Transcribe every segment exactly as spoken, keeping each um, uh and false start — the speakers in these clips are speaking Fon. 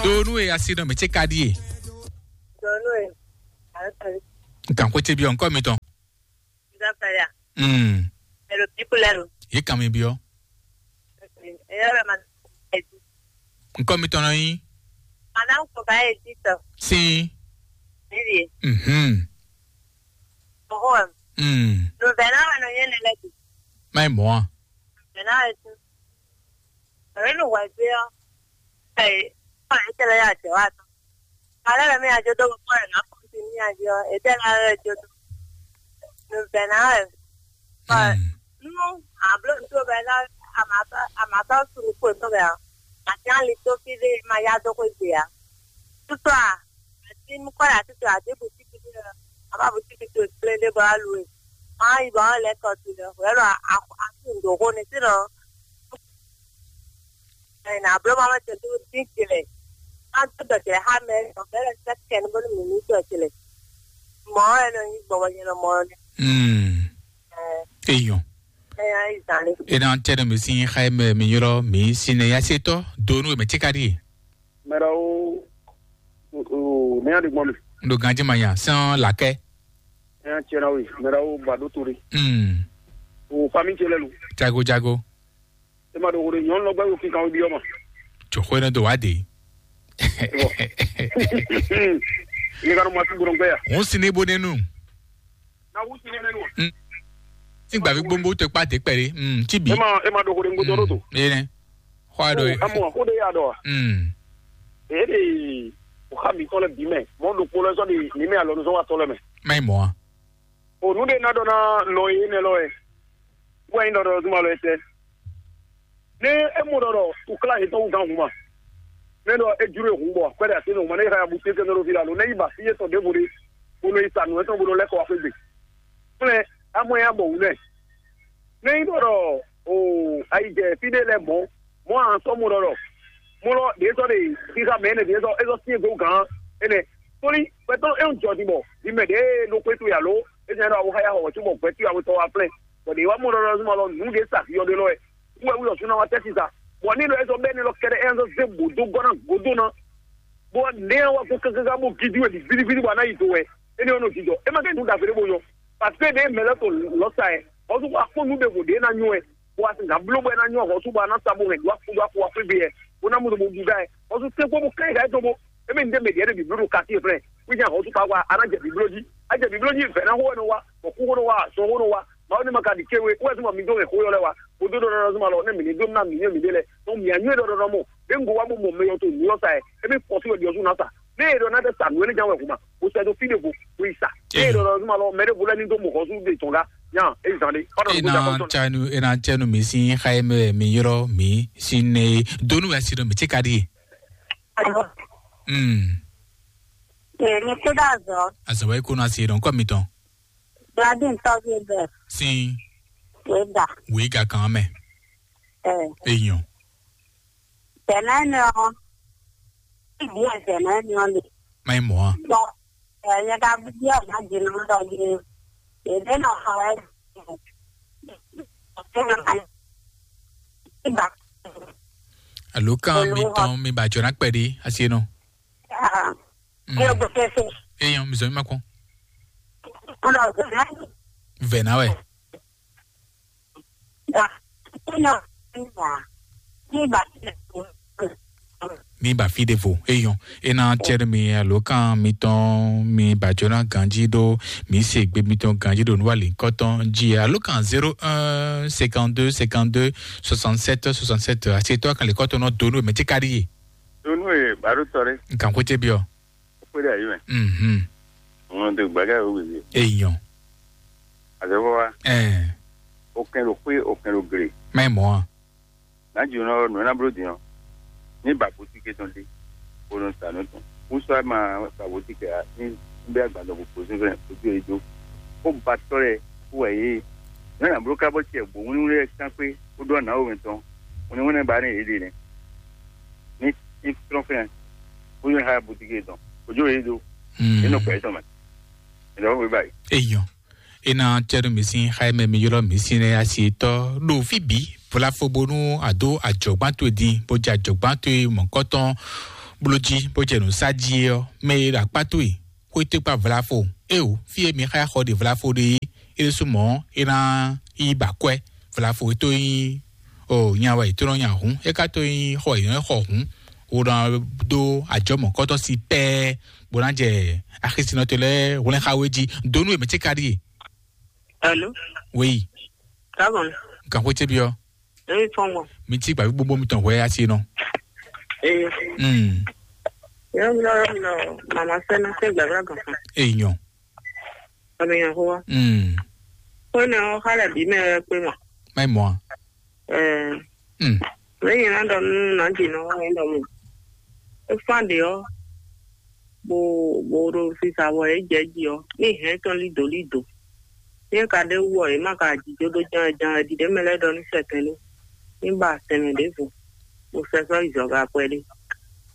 Donu e asi nɔ mɛ ce ka ɖie. Donu e. Nkan ko ce bi ɔnkɔ mi tɔn. Nzapaya. Mm. Elo pikulero. Ye kan mi biɔ. Eyɔrɔ ma. Nkan mi tɔn nɔ yi. Madame Kobaye Tito. Si. Nilie. Mhm. Oho. Mm. Novena wa no yene lɛ. Mai moa. Novena wa tu. Renu wa je. Hey, pa etele ya je wa. Alẹ́ rẹ̀ mi àjọ tó kọ́ ẹ̀ náà kọ́ sí ní àjọ ètò ẹ̀ náà rẹ̀ jọ tó. Nùbẹ̀ náà rẹ̀. Nínú àbúrò tó bẹ̀ náà àmàtọ́ sùn kò tó bẹ̀ ọ́. Àti àlè tó fi lé máa yá tó kó gbé ya. Tútù à, àti mú kọ́ àti tó àti bùtíkì tó yẹ. Àbá bùtíkì tó ìpínlẹ̀ lé bọ́ á lu ẹ̀. Máa yí bọ́ á lẹ́kọ̀ọ́ sí lọ. Wẹ́rọ àti ìdòwò ni sínú. Ena blo ma wete do din kele. An to dɔ kele ha mɛ, dɔ kele se ken bo ni mi ni dɔ kele. Mo e no ni gbɔ wɔ nyɛ no mo ne. Mm. Eh, Eyon. Eh, ai zani. Ena tɛnɛ mi sin xaye mɛ mi ylɔ mi sin ne ya se tɔ do nu mɛ ti ka di. Mɛra o o ne ya di gbɔ mi. Ndo ganji ma ya san lakɛ. Ya tiɛ na wi, mɛra o ba do tori. Mm. O famille ce lɛ lu. Jago jago. E ma ɖo hore nyɔnu lɔ gbɛ wo kinkan wo biɔ ma. Jɔxɔ ne do wa de. Ye ka no ma tu gbɔn gbɛ ya. Ŋun si ne bo ne nu. Na wu si ne nu. Mm. Ti gbavi gbogbo te kpa de kpɛri. Mm, ti bi. E ma e ma ɖo hore ŋgotɔ ɖo to. Mm, ye ne. Xɔ a ɖo. Amu ko de ya ɖɔ. Mm. E de o xa mi tɔ lɛ bi mɛ. Mɔ ɖo kpo lɛ sɔ de ni mɛ alɔ nu sɔ wa tɔ lɛ mɛ. Mai mɔ a. O nu de na ɖɔ na nɔ ye ne lɔ ɛ. Wɛ nyi ɖɔ ɖɔ zuma lɔ etɛ. Ne e mɔ ɖɔ ɖɔ ukla yetɔn wú gán huma. Ne ɖɔ e jló e hun bɔ akwɛ ɖe ase ne huma ne e xa ya bu tete ne ɖo fi la lo ne yi ba fi yetɔn ɖěvo ɖe. Bo nɔ yi sa nǔ etɔn bo nɔ lɛ́ kɔ wá xwé gbe. Kplɛ amɔ ya bɔ wǔ nɛ. Ne yi ɖɔ ɖɔ o ayi jɛ fi ɖe lɛ mɔ mɔ an sɔ mɔ ɖɔ ɖɔ mɔ lɔ ɖe sɔ ɖe xixa mɛ ne ɖe sɔ e sɔ sie go gán ene. Tóli pɛtɔ e ń jɔ din bɔ di mɛ ɖe ɖo xwé to ya lo e nya ɖɔ awu xa ya xɔ wɛ cóbɔ gbɛtú ya wetɔ wa flɛn. Bɔ ɖe wa mɔ ɖɔ ɖɔ zuma lɔ nǔ ɖe sa fi yɔ ɖe lɔ wɛ wɛ wulɔ suna wa tɛsi sa. Bɔ ni ɖɔ e sɔ bɛ ne lɔ kɛɖɛ e sɔ ze bodo gɔna godo na. Bɔ ne wa ko kankan bo gidi wɛ di vidividi bɔ a na yi do wɛ e ne yɔ nɔ jijɔ e ma kɛ nu da fere bo yɔ. Parce que ɖe mɛ lɛ to lɔ sa yɛ ɔzu ko akpɔ nu ɖe vo ɖe na nyɔ wɛ. Bó wá sí nǎ bló bɔ é ná nyɔ́ hɔ̌sú bɔ a ná sa bó hɛn dó akú dó akú wá xwé gbe yɛ bó ná mú ɖo mo ɖu dá ɛ hɔ́sú tɛ́nkpɔ́n bó ká yi ká yi tɔn bó émí ní ɖé mɛ ɖíɛ ɖé bǐbló ɖo katín flɛ́ wí nya hɔ́sú ka wá a ná jɛ bǐbló jí a jɛ bǐbló jí vɛ̌ ná xó wɛ nɔ wá bɔ kú xó nɔ wá azɔn xó nɔ wá mawu ní ma ka ɖi kéwe wɛ zuma mi dó hɛn xó yɔ lɛ́ wá bó dó ɖɔ nɔ zuma lɔ nɛ́ mǐ ní dó ná mǐ nyɔ́ mǐ ɖé lɛ́ tɔn mǐ anyú é ɖɔ ɖɔ nɔ mɔ ɖé ŋgo wá bó mɔ mɛ yɔ to nǔ lɔ sa ɛ émí kɔ sí wɛ ɖiɔzú ná sa ne e ɖɔ ná tɛ sa nǔ énɛ́ ján wɛ hǔn ma bó sɛ dó fí ɖěvo bó yi sa ne e ɖɔ ɖɔ zuma lɔ mɛ ɖěvo lɛ́ ní dó mɔ hɔ́sú ɖe tɔn gá nya é zan ɖé kpɔ́ ɖɔ nǔ dó ena jakɔ tɔn. Tsanu ena tsanu mi si xa ye mɛ mi yrɔ mi si ne donu wɛ si ɖɔ mi tsi ka ɖi ye. Alo. Mm. Ee, mi kú dá azɔ. Azɔ wɛ kó na si ɖɔ nkɔ mi tɔn. Gladys tɔgbe bɛ. Sin. Wega. Wega kan mɛ. Ee. Eyan. Tɛnɛ nɔ. Ibi ɛ tɛnɛ nɔ le. Mai mɔ a. Bɔ ɛyɛ ka bi ɔ ma di nɔ dɔ di. Ebe nɔ xɔ ɛ. Iba. Alo kan mi tɔn mi ba jɔ na kpɛ di asi nɔ. Ah. Mm. Eyan mi zɔ mi ma kɔn. Vɛ na wɛ. Ní ba fi ɖe vo eyɔn ena tsɛrɛ mi alokan mitɔn mi bajona ganji ɖo mi se gbe mitɔn ganji ɖo nuwali kɔtɔn ji alokan zéro un cinquante deux cinquante deux soixante sept soixante sept asetɔ kan le kɔtɔn nɔ donu mɛ ti ka ɖi ye. Donu ye baro tɔ ɖe. Nkan ko tse biɔ. Kpé ɖe ayi mɛ. Mhm. Ŋun do gbɛgɛ wo wili. Eyɔn. Azɔfɔ wa. Ɛɛ. O kɛn ɖo xwé o kɛn ɖo gle. Mɛ mɔ a. N'a dzi nɔ nɔ na blo din ɔ. Ní ba boutique tɔn ɖe. O nɔ sa nɔ tɔn. Wusɔ ma ba boutique a ní bɛ agbadɔ ko pozo fɛ o do e do. Ko ba tɔ lɛ ko wɛ ye. N'a na blo ka bɔ tiɛ bo wuli wuli kan kpé ko do na o mɛ tɔn. Wuli wuli ba ne e de nɛ. Ní ní trɔn fɛ. Ko yɔ ha boutique tɔn. O jo e do. Mm. E nɔ kpɛ tɔn mɛ. E dɔ ko ba yi. Eyɔn. Ena tsɛɖo mi sin xaye mɛ mi ylɔ mi sin ne asi tɔ ɖo fi bi vola fo bonu ado adzɔgban to din bo jɛ adzɔgban to mɔkɔtɔn Bló jí bó jɛ nǔ sá jí é ɔ́, mɛ e ɖo akpá towe xwé tó kpá vlafo. Éeǒ, fí e mi xá xɔ ɖe vlafo ɖe é, é ɖésú mɔ̌ é ná yi ba akwɛ́. Vlafo e tó nyí o nya wɛ è tó nɔ nya hǔn, é ka tó nyí xɔ è nɔ xɔ hǔn, wo nɔ dó ajɔmɔ̌kɔ́tɔ́ si pɛ́ɛ, bó ná jɛ axisínɔ tɔn lɛ́ɛ hwlɛ́n xá we jí. Donu e mɛ ce ka ɖíe. Hello. Wéyi. Káàbọ̀. Nkan xwé ce byɔ́. Èyí fɔn gbɔn. Mi tí gbàgbé gbogbo mi tɔn hwɛ asi nɔ. Èyí. Hmm. Yɔrɔ mi lɔ, yɔrɔ mi lɔ, mama sɛ na sɛ gbàgbé gan fún. Èyàn. Àmì yàn fún wa. Hmm. Kó ní ọ xalẹ̀ bí mẹ́ ẹ pé mọ̀. Má mọ̀ á. Ẹ. Hmm. Lẹ́yìn náà dọ̀ nínú náà jì náà wọ́n dọ̀ mọ̀. Ó fún àdé ọ́. Bó bó ɖo sisa wɔ é jɛ jí ɔ, ní hɛn tɔn lido lido. Ní é ka ɖe wú ɔ, é má ka jijó ɖó ján ján, é ɖiɖe mɛ lɛ́ɛ ɖɔ ní sɛtɛn ní ní ba sɛnmɛ ɖěvo, bó sɛ sɔ́ yi zɔga kpɛɖé,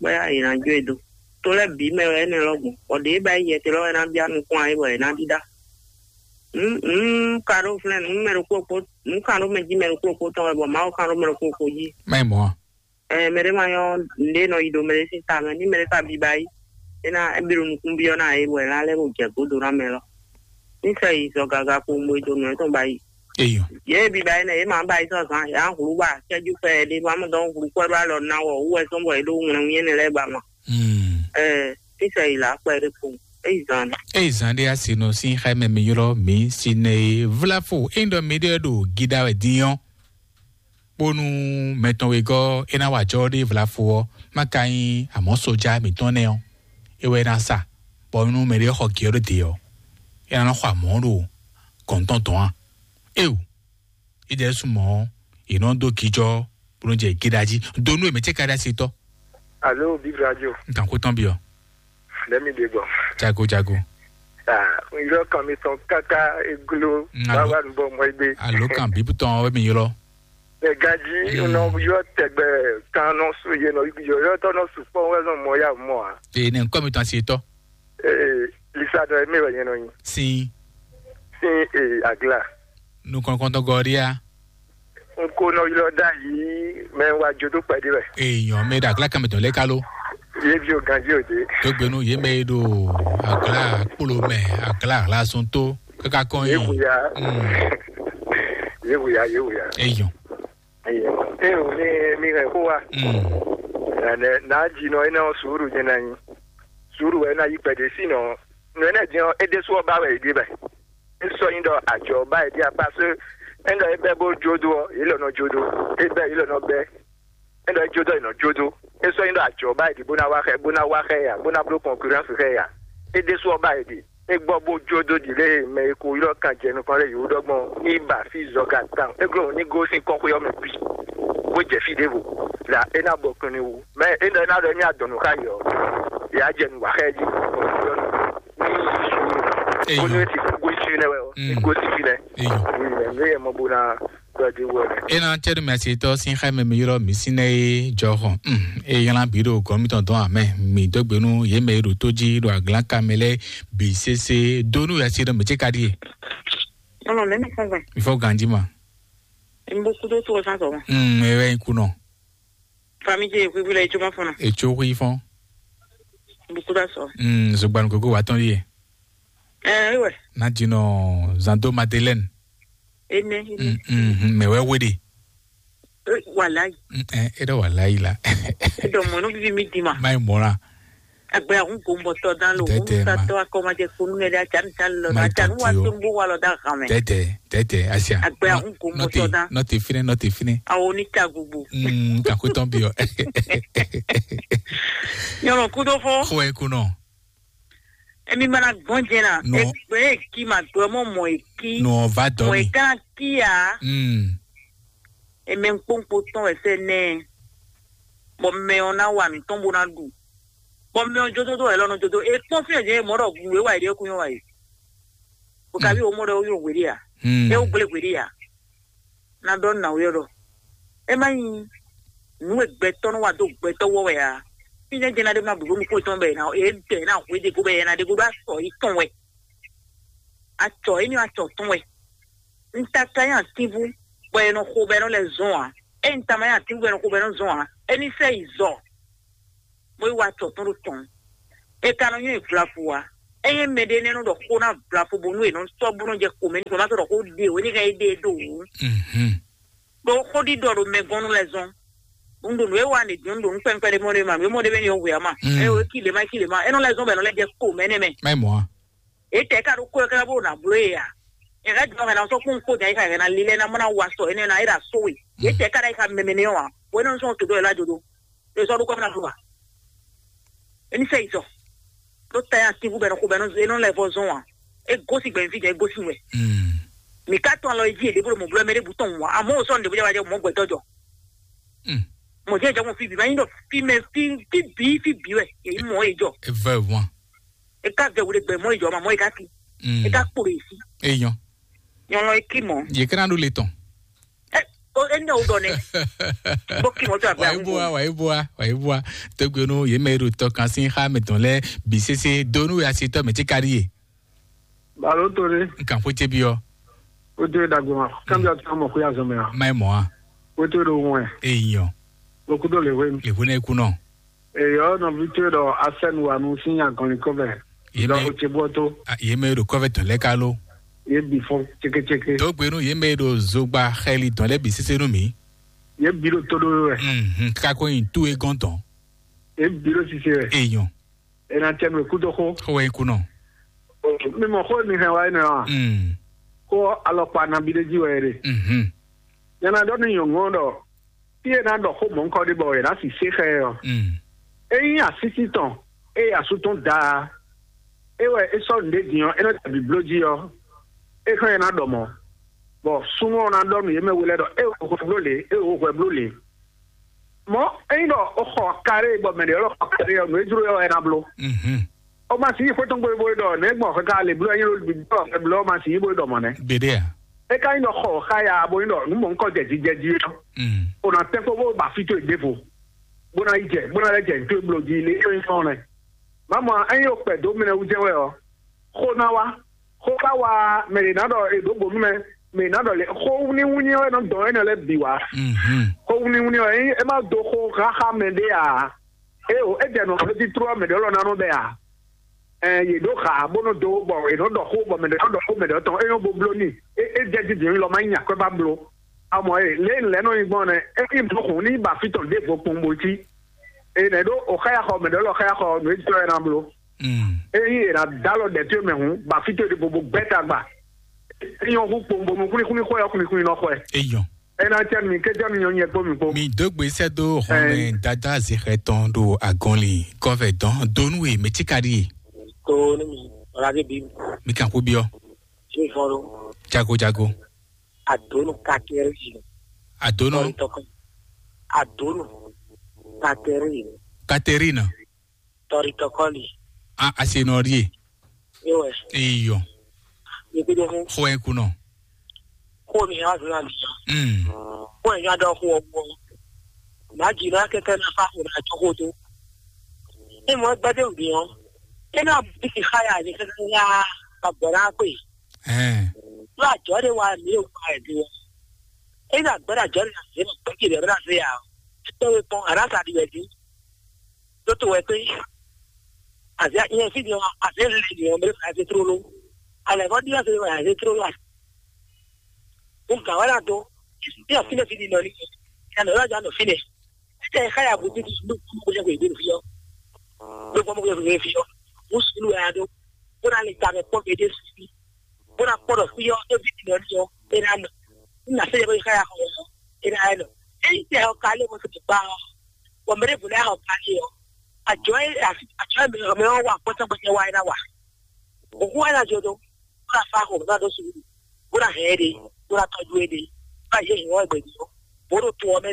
bóyá è nǎ jó e dó. To lɛ́ɛ bǐ mɛ wɛ énɛ́ lɔ́ gbɔn, bɔ ɖě ba yi yɛte lɔ́ wɛ ná bíá nukún ayé bɔ è nǎ ɖíɖá. Nǔ nǔ ka ɖó flɛ́n nǔ mɛ ɖokpó kpó nǔ ka ɖó mɛ jí mɛ ɖokpó kpó tɔn wɛ, bɔ Mawu ka ɖó mɛ ɖokpó kpó jí. Má yi mɔ̌ a? Ɛ mɛ ɖé ma nyɔ́ nǔɖé nɔ yi ɖo mɛ ɖé sín ta mɛ, ní mɛ ɖé ka biba yi, é ná é bí ɖo nukún byɔ́ ná yě bɔ è ná lɛ́ bó jɛ gǒdo ná mɛ lɔ. Ní sɛ yi zɔ gaga kpowun bo yi do nǔ etɔn ba yi. Eyɔ. Yě biba yi nɛ yě ma ba yi sɔ́ zan yě á hlu ba cɛ́jú kpɛ yɛ ɖé bɔ amɔ dɔn hlu kpɛ ɖó alɔ ná wɔ wú wɛ sɔ́ bɔ yě ɖó ŋlɛ́ wú nyɛ nɛ lɛ́ɛ ba ma. Hmm. Ɛ ní sɛ yi là kpɛ ɖé kpowun é yi zan nɛ. Eyi zan ɖé asi nɔ sín xá mɛ mi ylɔ́ mǐ si nɛ e vláfo é ɖɔ mi ɖe ɖo gíɖá wɛ dín ɔ́. Bónú mɛ tɔn wegɔ́ é ná wa jɔ́ ɖé vlafo ɔ́, má ka nyí amɔ̌ soja mǐtɔn nɛ́ ɔ́, é wɛ é ná sa, bɔ nú mɛɖé xɔ gě ɔ́ ɖó dě ɔ́, é ná nɔ xɔ amɔ̌ ɖo gɔ̌ntɔn dɔn a? Éeǒ, é ɖɛ́ sú mɔ̌ ɔ́, è nɔ dó gíjɔ́ bó nɔ́ jɛ gíɖá jí. Do nú è mɛ cɛ́ ka ɖó asi tɔ́. Alo Bib Radio. N kan xó tɔn byɔ. Lɛmi ɖe gbɔ. Jago jago. Ah, n yɔ kan mi tɔn kaka eglo. Mm, alo. Báwa n bɔ mɔ egbe. Alo kan bíbú tɔn wɛ mi ylɔ. Ɛ gaji. Mm. Nɔ yɔ tɛgbɛ kan nɔ su ye nɔ yɔ yɔ tɔ nɔ su kpɔn wɛ nɔ mɔ ya mɔ a. Ee, ne nkɔ mi tɔn asi tɔ. Ee, lisa dɔ emi wɛ yɛn nɔ nyi. Sin. Sin ee agla. Nukɔn kɔntɔn gɔria. N ko nɔ ylɔ ɖ'ayǐ mɛ wá jó dó kpɛɖé wɛ. Èèyàn mi ɖo àglákàmì tɔn lé ká ló? Yé ví o ganjí òde. Tó gbénú yé mɛ e ɖo àglá kpolo mɛ, àglá àhlásún tó káká kɔn yé yìí. Wòyá. Mm. Yé wòyá, yé wòyá. Èèyàn. Èèyàn. Ẹ ò ní mi hɛn kó wa. Mm. Nà nà jì nɔ iná sùúrù jẹ nà nyi. Sùúrù wɛ nà yí pɛ̀dé sí nɔ. Nù ɛ nɛ jẹ́ ɛ ɖésú ɔba wɛ yě ɖe bɛ. É sɔ́ nyí ɖɔ ajɔ̌ ba yě ɖi apá só. É ɖɔ é bɛ́ bó jó dó ɔ́, yě lɔ nɔ jó dó. É bɛ́ yě lɔ nɔ bɛ́. É ɖɔ é jó dó, yě nɔ jó dó. É sɔ́ nyí ɖɔ ajɔ̌ ba yě ɖi bó ná wá xɛ, bó ná wá xɛ yě ǎ, bó ná bló kɔnkurɛ́nsi xɛ yě ǎ. É ɖésú ɔba yě ɖi. É gbɔ bó jó dó ɖi lé mɛ e ko ylɔ́ kan jɛ nukɔn lɛ́ɛ yě wú ɖɔgbɔn ní ba fí zɔga tawun. É glɔ́ ní gosín kɔ́xwé ɔ́ mɛ bǐ. Bó jɛ fí ɖěvo. Là é ná bɔ kɔn ní wú. Mɛ é ɖɔ é ná ɖɔ ní adɔ̌ nú xá yě ɔ́, yě á jɛ nǔ wa xá ɛ jí. Ní Eyɔ. Bónú é ti gosín fínɛ́ wɛ ɔ́, é Mm. gosín fínɛ́. Eyɔ. Ní yɛ mɔ bó ná ɖɔ dé wú ɛ. Ena cɛɖu mɛ asitɔ sin xɛ mɛ mi ylɔ mi sin nɛ ye jɔ xɔ. Mm. E ylan bi ɖo gɔn mi tɔn dɔn amɛ. Mi dɔgbe nu ye mɛ ɖo tó jí ɖo aglan kamɛ lɛ bi sese donu ya si ɖo mi ce ka ɖie. Ɔnɔ lɛ mi fɔ gbɛ. Mi fɔ ganji ma. N bó kúdó tó sá sɔ. Mm. E wɛ kunɔ. Famille je kuibu la etso ma fɔnɔ. Etso hui fɔn. Buku da sɔ. Mm, zogbanu koko wa tɔn ye. Eh, ouais. Na dino zando Madeleine. Ene. Mm, mm, mm, mais ouais, ouais. Wala. Mm, eh, edo wala la. Edo mono bibi mi dima. Mai mora. Agbe ahun gombo to dan lo. Tete ma. Sa to akoma je kunu ne da chan chan lo. Mai na chan wa tumbu wa lo da game. Tete, tete, asia. Agbe ahun gombo to dan. Not fine, not fine. Awo ni ka gugu. Mm, ka kuton bio. Nyɔnɔ kudo fɔ. Xo e kunɔ. Emi mana gbɔn jɛ na. No. Egbe eki ma gbɛ mɔ mɔ eki. No va dɔ mi. Mɔ eka kia. Mm. Eme nkpokpo tɔn wɛ sɛ nɛ. Bɔ mɛ ɔ na wa nutɔn bo na ɖu. Bɔ mɛ ɔ jodo do wɛ lɔ nɔ jodo. E kpɔn fi ɛ jɛ mɔ ɖɔ gu e wa yi ɖe kun yɔ wa yi. O ka bi o mɔ ɖɔ o yɔ wele ya. Mm. E o gble wele ya. Na dɔ na o yɔ ɖɔ. E ma nyi nu e gbɛtɔ nɔ wa do gbɛtɔ wɔ wɛ ya. Fi ne jɛ na de ma bu nu ko tɔn bɛ na e bɛ na hwe de go bɛ na de go ba sɔ yi tɔn wɛ. Atsɔ e ni atsɔ tɔn wɛ. N ta ka ya tibu bɔ e nɔ xo bɛ nɔ lɛ zɔn a. E n ta ma ya tibu bɛ nɔ xo bɛ nɔ zɔn a. E ni sɛ yi zɔ. bó yi wá tɔ tɔn ɖo tɔn. E ka nɔ nyɔ́ yi vlafu wa. Ényí mɛɖé nɛ́ nɔ ɖɔ xó ná vlafu bónú è nɔ sɔ́ bó nɔ jɛ xomɛ ní xomɛ sɔ́ ɖɔ xó ɖe o, é ní hɛn é ɖe é ɖo wǔ. Mhm. Ɖo xó ɖiɖɔ ɖo mɛ gɔ́n nú lɛ́ zɔ́n. Un ɖo nǔ e wa nǐ dín, un ɖo nǔ kpɛnkpɛn ɖé mɔ ɖé ma, nǔ e mɔ ɖé mɛ ni ɔ́ hwe ǎ ma. Mm. Ɛ o, é ki lě ma, é ki lě ma. É nɔ lɛ́ zɔ́n bɔ è nɔ lɛ́ jɛ xomɛ nɛ́ mɛ. Má yi mɔ a? É tɛ ká ɖó kó ɛ ká bó ná bló e ǎ. Ɛ ká jɔ hɛn ná sɔ́ kún kó jà é ká hɛn ná lílɛ́ ná mɔ ná wa sɔ énɛ́ ná é ɖo asó we. É tɛ ká ɖo é ká mɛmɛ nɛ́ ɔ́ ǎ. Bó é nɔ sɔ́ to dó ɛ lá jodo. É sɔ́ ɖó kɔ́ ná bló a? É ní sɛ yi sɔ. Ɖó ta ya tínbú bɛnɛ xo bɛnɛ é nɔ lɛ vɔ zɔn a? É gosín gbɛ̀mí fí jɛ é gosín wɛ. Mm. Mǐ ká tɔn alɔ é jí è ɖě bó ɖo mɔ̌ bló mɛ ɖěbǔ tɔn wǎ. Àmọ́ ò sɔ́ ní ɖě bó jẹ́ wá jẹ́ mɔ̌ gbɛtɔ́ jɔ. Mm. Mɔ̌ jẹ́ jẹ́ mɔ fí bǐ, má nyí ɖɔ fí mɛ fí fí bǐ fí bǐ wɛ. Èyí mɔ é jɔ. Eva wan. É ká vɛ wúɖe gbɛ mɔ é jɔ, màmọ́ é ká kí. Mm. É ká kpo ɖe sí. Eyɔn. Nyɔlɔ é kí mɔ. Yě ká ná ɖó le tɔn. Ɛ, o, é ní ɔ́ ɖɔ nɛ. Bó kí mɔ tó àbí Wàyí àwọn bó wa, wàyí bó wa, wàyí bó wa. Tógbénú yě mɛ e ɖo tɔ kan sín xá mɛtɔn lɛ́ɛ bǐ sésé dó nú asitɔ mɛ tí kárí yě. Balo tó ɖé. N kàn xwé cébi ɔ́. Ó dé dàgbé ma. Kábíyá tó mọ̀ kó yà zɔmɛ wa. Má ɛ mɔ a. Ó tó ɖo wọn ɛ. Eyɔ. Ó kú tó lè wé mi. Lè wé náà kú náà. Èyí ɔ́ nɔví tó ɖɔ asɛnu wa nu sín agɔnlin kɔ́vɛ. Yě Dɔ mɛ o tse bɔ tó. A, yě mɛ e ɖo kɔ́vɛ tɔn lɛ́ɛ ká ló. Yě bǐ fɔn tsékétséké. Tógbénú yě mɛ e ɖo zogba xɛli tɔn lɛ́ɛ bǐ sésé nú mǐ. Yě bǐ ɖo tó ɖó wɛ. Mhm, kákó nyi tú e gɔ́n tɔn. Yě bǐ ɖo sise wɛ. Eyɔn. È nà tɛ nú è kú dó xó. Xó wɛ nyí kú nɔ. Mi mɔ xó mi hɛn wá énɛ́ ɔ́ a? Mm. Xó alɔkpa nabí ɖé jí wɛ é ɖe. Mhm. Nyɛ ná ɖɔ nú nyɔ̌nu ɔ́ ɖɔ fí e ná ɖɔ xó mɔ̌hunkɔ ɖé bɔ è nǎ sisé xá ɛ ɔ́, Mm. é nyí asísí tɔn, ée asú tɔn da, é wɛ é sɔ́ nǔɖé din ɔ́, é nɔ ta bǐbló jí ɔ́, é xlɛ́ ɛ ná ɖɔ mɔ̌, bɔ súnnu ɔ́ ná ɖɔ nú yě mɛ we lɛ́ɛ ɖɔ é wɛ hwɛ bló lě, é wɛ hwɛ bló lě. Mɔ̌, ényí ɖɔ o xɔ kare bɔ mɛ ɖě lɔ xɔ kare ɔ́, nǔ e jló ɔ́ wɛ é ná bló. Mhm. O ma si yi xwé tɔn gbe bo ɖɔ nɛ̌ gbɔn xwe ka le bló, ényí ló bi ɖɔ xwe bló, o ma si yi bo ɖɔ mɔ̌ nɛ́. Gbeɖé a? É ka nyí ɖɔ xɔ xá ya bo nyí ɖɔ nǔ mɔ̌hunkɔ jɛ jijɛ jí ɔ́, Mm. o nǎ tɛ́ kpó bó ba fí towe ɖěvo, bó ná yi jɛ, bó ná lɛ́ jɛ nǔ towe bló jí lé é nyí fɔ́n nɛ́. Má mɔ ényí o kpɛ dó mɛ wú jɛ́n wɛ ɔ́, xó ná wá, xó ká wá, mɛ ɖě ná ɖɔ è ɖǒ bǒ nú mɛ, mɛ ɖě ná ɖɔ lě xó wúníwúní ɔ́ wɛ nɔ dɔn énɛ́ lɛ́ɛ bǐ wá. Mhm. Xó wúníwúní ɔ́, ényí é má dó xó xáxá mɛ ɖé ǎ, é o, é jɛ nɔ xó títró ɔ́ mɛ ɖě lɔ ná nɔ bɛ ǎ. Ɛ, yě ɖó xa bó nɔ dó bɔ è nɔ ɖɔ xó bɔ mɛ ɖě nɔ ɖɔ xó mɛ ɖě tɔn é nyɔ́ bo bló n'i. É é jɛ dídì lɔ má nyi akwɛ́ ba bló. Amɔ e lě e lɛ̌ nɔ nyi gbɔn nɛ, é nyí bló xun ní ba fí tɔn ɖěvo kpowun bo cí. È nɛ̌ ɖó o xáyaxɔ mɛ ɖě lɔ xáyaxɔ nǔ e jɔ ɛ ná bló. Mm. Ényí è nǎ dó alɔ ɖɛ̌ towe mɛ hǔn, ba fí towe ɖěvo bo gbɛ́ tagba. É nyɔ́ hú kpowun bónú xwlíxwlí xwɛ ɔ́ xwlíxwlí nɔ xwɛ. Eyɔn. É ná cɛ mi, ké cɛ mi nyɔ́ nyɛ kpó mi kpó. Mi dó gbe sɛ́ dó xɔmɛ Ɛɛ. Dada Zexɛ tɔn ɖo agɔnlin kɔvɛ dɔn donu e mɛ tí ka ɖi e. Tó ní mi, ọ̀làdé bí mi, Mi kan kú biɔ. Ṣé ìfọ́n ló? Jago jago. Àdónù kákẹ́rì yìí. Adonu. Tọ́rí tọkọ. Àdónù kákẹ́rì yìí. Katerina. Tọ́rí tọkọ lì. A asenɔri e. Yíwẹ̀. Eyɔ. Yìí kúndé fún. Xɔ ẹ kunɔ. Kó mi hàn fún àmì yàn. Mm. Kó ẹ̀ yàn dán kó ọmọ. Màá jì náà kẹ́kẹ́ náà fáfún náà tó kó tó. Ní mo gbẹ́dẹ̀ òbí wọn. Kí náà bí ti háyà ní kẹ́kẹ́ yá àgbọ̀rá pè. Ɛɛ. Ló àjọ de wa mi o wa ɛ bi wɔ. E na gbɛdɔ jɔ na se ma gbɛdɔ jɔ na se ya. Tɔ we kpɔn ara sa di wɛ di. Tó tó wɛ pé. Àti ìyẹn fi di wọn àti lè di wọn bẹ fà ṣe tó ló. Alẹ kọ di wọn ṣe wọn ṣe tó ló. Mo gà wá dà tó. Bí wọn fi lè fi di nọ ni. Ìyá nọ yóò jọ àná fi lè. Títẹ̀ káyà bó ti di ló kú kó jẹ́ kó ìgbé fi yọ. Ló gbọ́ mọ́ kó ìgbé fi yọ. Mo sùn lù wá dó. Bó na lè ta mẹ́ pọ́ gbèdé sí. Bó na kpɔ́ ɖɔ xwí ɔ́ é ví tɔn ní ɔ́ é ná nɔ. Ní nà sɛ́ yɛ bó yi xá ya xɔ ɔ́ é ná yɛ nɔ. Ényí tɛ ɔ ka lé mo sɔ́ kpa ɔ́, bɔ mɛ ɖěvo lɛ́ɛ xɔ ka lé ɔ́, àjọ é àjọ é mɛ ɔ́ wà kpɔ́tɔ́ gbɛtɛ wá é ná wà. Òkú wá ná jɔ dó, bó ná fa xo, bó ná dó sùúrù, bó ná hɛn é ɖe, bó ná tɔjú é ɖe, bó ná yé hìn wọ́n gbẹ̀dì ɔ́, bó ɖo to ɔ́ mɛ.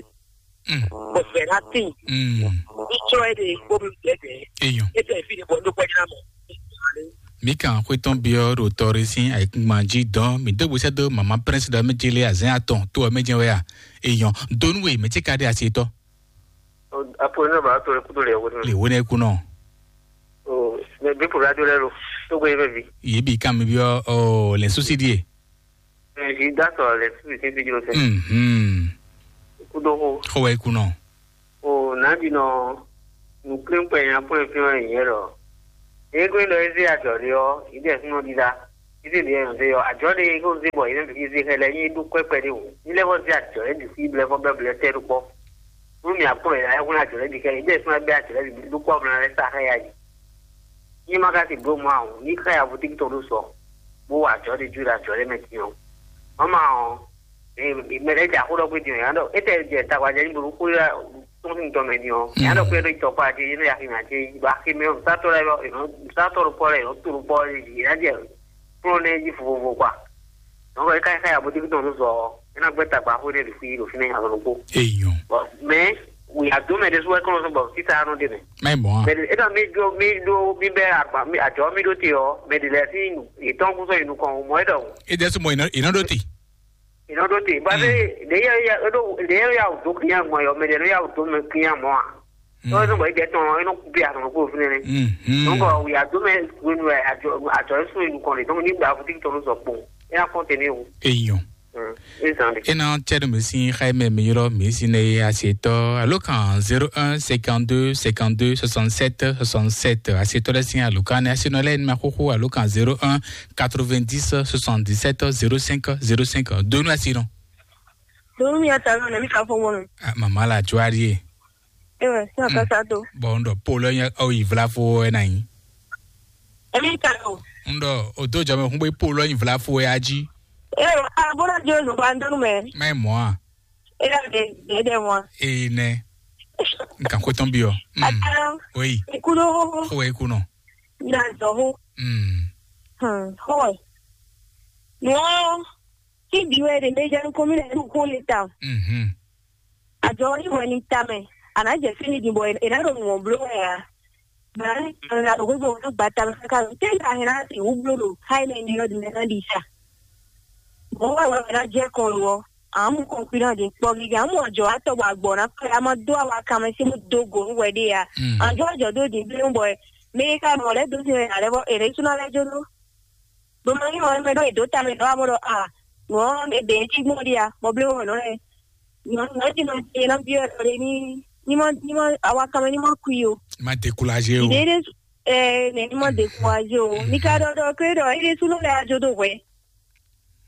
Mm. Bó fẹ́ ná tì, Mm. ní tsɔ́ é ɖe, bó bí dɛ̌dɛ̌. Eyɔn. É tẹ̀ fí ni bɔ ní kpɔ́ jná mɔ. Mi kan xwetɔn biɔ ɖo tɔri sín ayikungban jí dɔn mi dó gbèsè dó mama prince dɔ mi jele azɛn atɔn tó ɔ mi jẹ wɛ a. Eyɔn. Donu we mi ti ka ɖe asi tɔ. Apo ne ba to le kudo le wo. Le wo ne kunɔ. O, mais bi pour radio le lo. To go yebe bi. Ye bi kan mi biɔ o le souci die. Zi dá sɔrɔ le souci ti bi jlo se. Mhm. Kudo ko. Ko wɛ kunɔ. O, na bi nɔ. Nǔkplɔ́nkplɔ́n e nya kplɔ́n fí ɔ́ nyɛ ɖɔ. Égbe ɖɔ é zé ajɔ ɖé ɔ́, é ɖɛ súnɔ ɖíɖá. É zé ɖě nyɛ zé ɔ́, ajɔ ɖé é ko zé bɔ é nɔ zé xɛ lɛ́ɛ nyí é ɖó kwɛ́kwɛ ɖé wǔ. Ní lɛ́ vɔ zé ajɔ lɛ́ɛ bǐ xwí blɛ́ vɔ bɛ́ blɛ́ tɛ́ ɖó kpɔ́. Nú mǐ akplɔ́n yě ná yɛ hwlɛ́n ajɔ lɛ́ɛ bǐ xɛ, é ɖɛ súnɔ bɛ́ ajɔ lɛ́ɛ bǐ ɖó kpɔ́ mlá lɛ́ɛ sa xɛ ya yi. Ní ma ka si bló mɔ awǔ, ní xɛ ya vo tíkítɔn ɖó sɔ, bó wa ajɔ ɖé jó ɖo ajɔ lɛ́ɛ mɛ din ɔ́. Mama ɔ́, mɛ ɖé jɛ axó ɖɔ gbé din ɔ́, yǎ ɖɔ étɛ jɛ tagbajɛ ní bló xó ɖé tɔn sín tɔn mɛ din ɔ́, yǎ ɖɔ kpé ɖó tɔkpá jí, yé nɔ yaxi mɛ jí, bɔ axi mɛ nǔsatɔ́ lɛ́ɛ, nǔsatɔ́ ɖokpɔ lɛ́ɛ, nǔ to ɖokpɔ lɛ́ɛ jí, yě ná jɛ kplɔ́n nɛ́ jí vovovo kpa. Nɔ̌ é ká xá ya bó tíkítɔn nú zɔ ɔ́, é ná gbɛ́ tagba xó nɛ́ ɖo fí ɖo fínɛ́ azɔn ɖokpó. Eyɔn. Bɔ mɛ wòyà dó mɛ ɖésú wɛ kɔn sɔn bɔ sísá nɔ ɖe mɛ. Mɛ mɔ a. Mɛ ɖe étɔ mi ɖó mi ɖó mi bɛ agba mi àjọ mi ɖó te ɔ, mɛ ɖe lɛ sí yětɔn kún sɔn yi nukɔn o, mɔ é ɖɔ o. E dɛ sumɔ iná iná ɖó te. Iná ɖó te ba fɛ ɖe yɛ ya ɖó ɖe yɛ ya wò dó kinya gbɔn yɔ, mɛ ɖe nɔ ya wò dó mɛ kinya mɔ a. Tɔwɛ sɔn bɔ é jɛ tɔn ɔ, é nɔ bí azɔn kó fún nɛ. Donc wòyà dó mɛ wenu wɛ àjọ àjọ é sún yi nukɔn de, donc ní gba fún títí tɔn sɔ kpɔn, é ná kɔn tɛ ní o. Eyɔn. Ezan de. E na cɛ ɖo mi sin xa mɛ mi ylɔ mi sin ne asetɔ alo kan zéro un cinquante-deux cinquante-deux soixante-sept soixante-sept, asetɔ lɛ sin alo kan ne asinɔ lɛ ma xoxo alo kan zéro un quatre-vingt-dix soixante-dix-sept zéro cinq zéro cinq. Donu asinɔ. Donu mi ata nɔ mi ka fɔ wɔn. Mama la cuari ye. Ewe sɔ kasa to. Bon, ndo polo nya o ivla fo e na yi. Emi ka o. Ndo o do jame hun be polo yin vla fo e aji. Ewe a bona jo no ba ndonu me. Mai mo a. E da de de de mo. E ne. Nkan ko ton bi o. Ata. Oui. Ikuno. O e kuno. Na zo ho. Mm. Hmm. Ho. No. Ki bi we de me janu komi na du ko le ta. Mhm. Ajɔ ɔ́ nyí hwɛ ní tamɛ, a nǎ jɛ fínɛ́ din bɔ è nǎ ɖo nǔ ɔ́ bló wɛ ǎ. Bǎ a nǎ ɖo xwé bɔ a nǎ gba tamɛ káká ɖo tɛ́ ka hɛn ná sixú bló ɖo xá énɛ́ ɖi ɔ́ din mɛ ná ɖi sa. Mɔ̌ wɛ wɛ ná jɛ kɔn lo ɔ́, a nǎ mú kɔn kpi ná din kpɔ́ gígé, a nǎ mú ajɔ wá tɔ bɔ agbɔ̌ ná kplé, a ma dó awa kanmɛ sín bó dó go nú hwɛ ɖé ǎ. A nǎ jó ajɔ dó din bló bɔ mɛ e ka mɔ lɛ́ dó sin wɛ ǎ lɛ́ vɔ è nǎ yi sú ná lɛ́ jó dó. Bó ma nyí ɔ́, mɛ ɖɔ è dǒ ta mɛ ɖɔ amɔ ɖɔ a nǔ ɔ́ è bɛ̌ cí gbɔn ɖi a bɔ blé wɔ nɔ lɛ nɔ nɔ jí nɔ jí nɔ byɔ́ ɖɔ ɖe ní ní ma ní ma awa kanmɛ ní ma kui o. Má découragé o. Ìdí ɖé ɛ nɛ ní ma découragé o. Ní ká ɖɔ ɖɔ ké ɖɔ é ɖésú nɔ lɛ ajo ɖo hwɛ.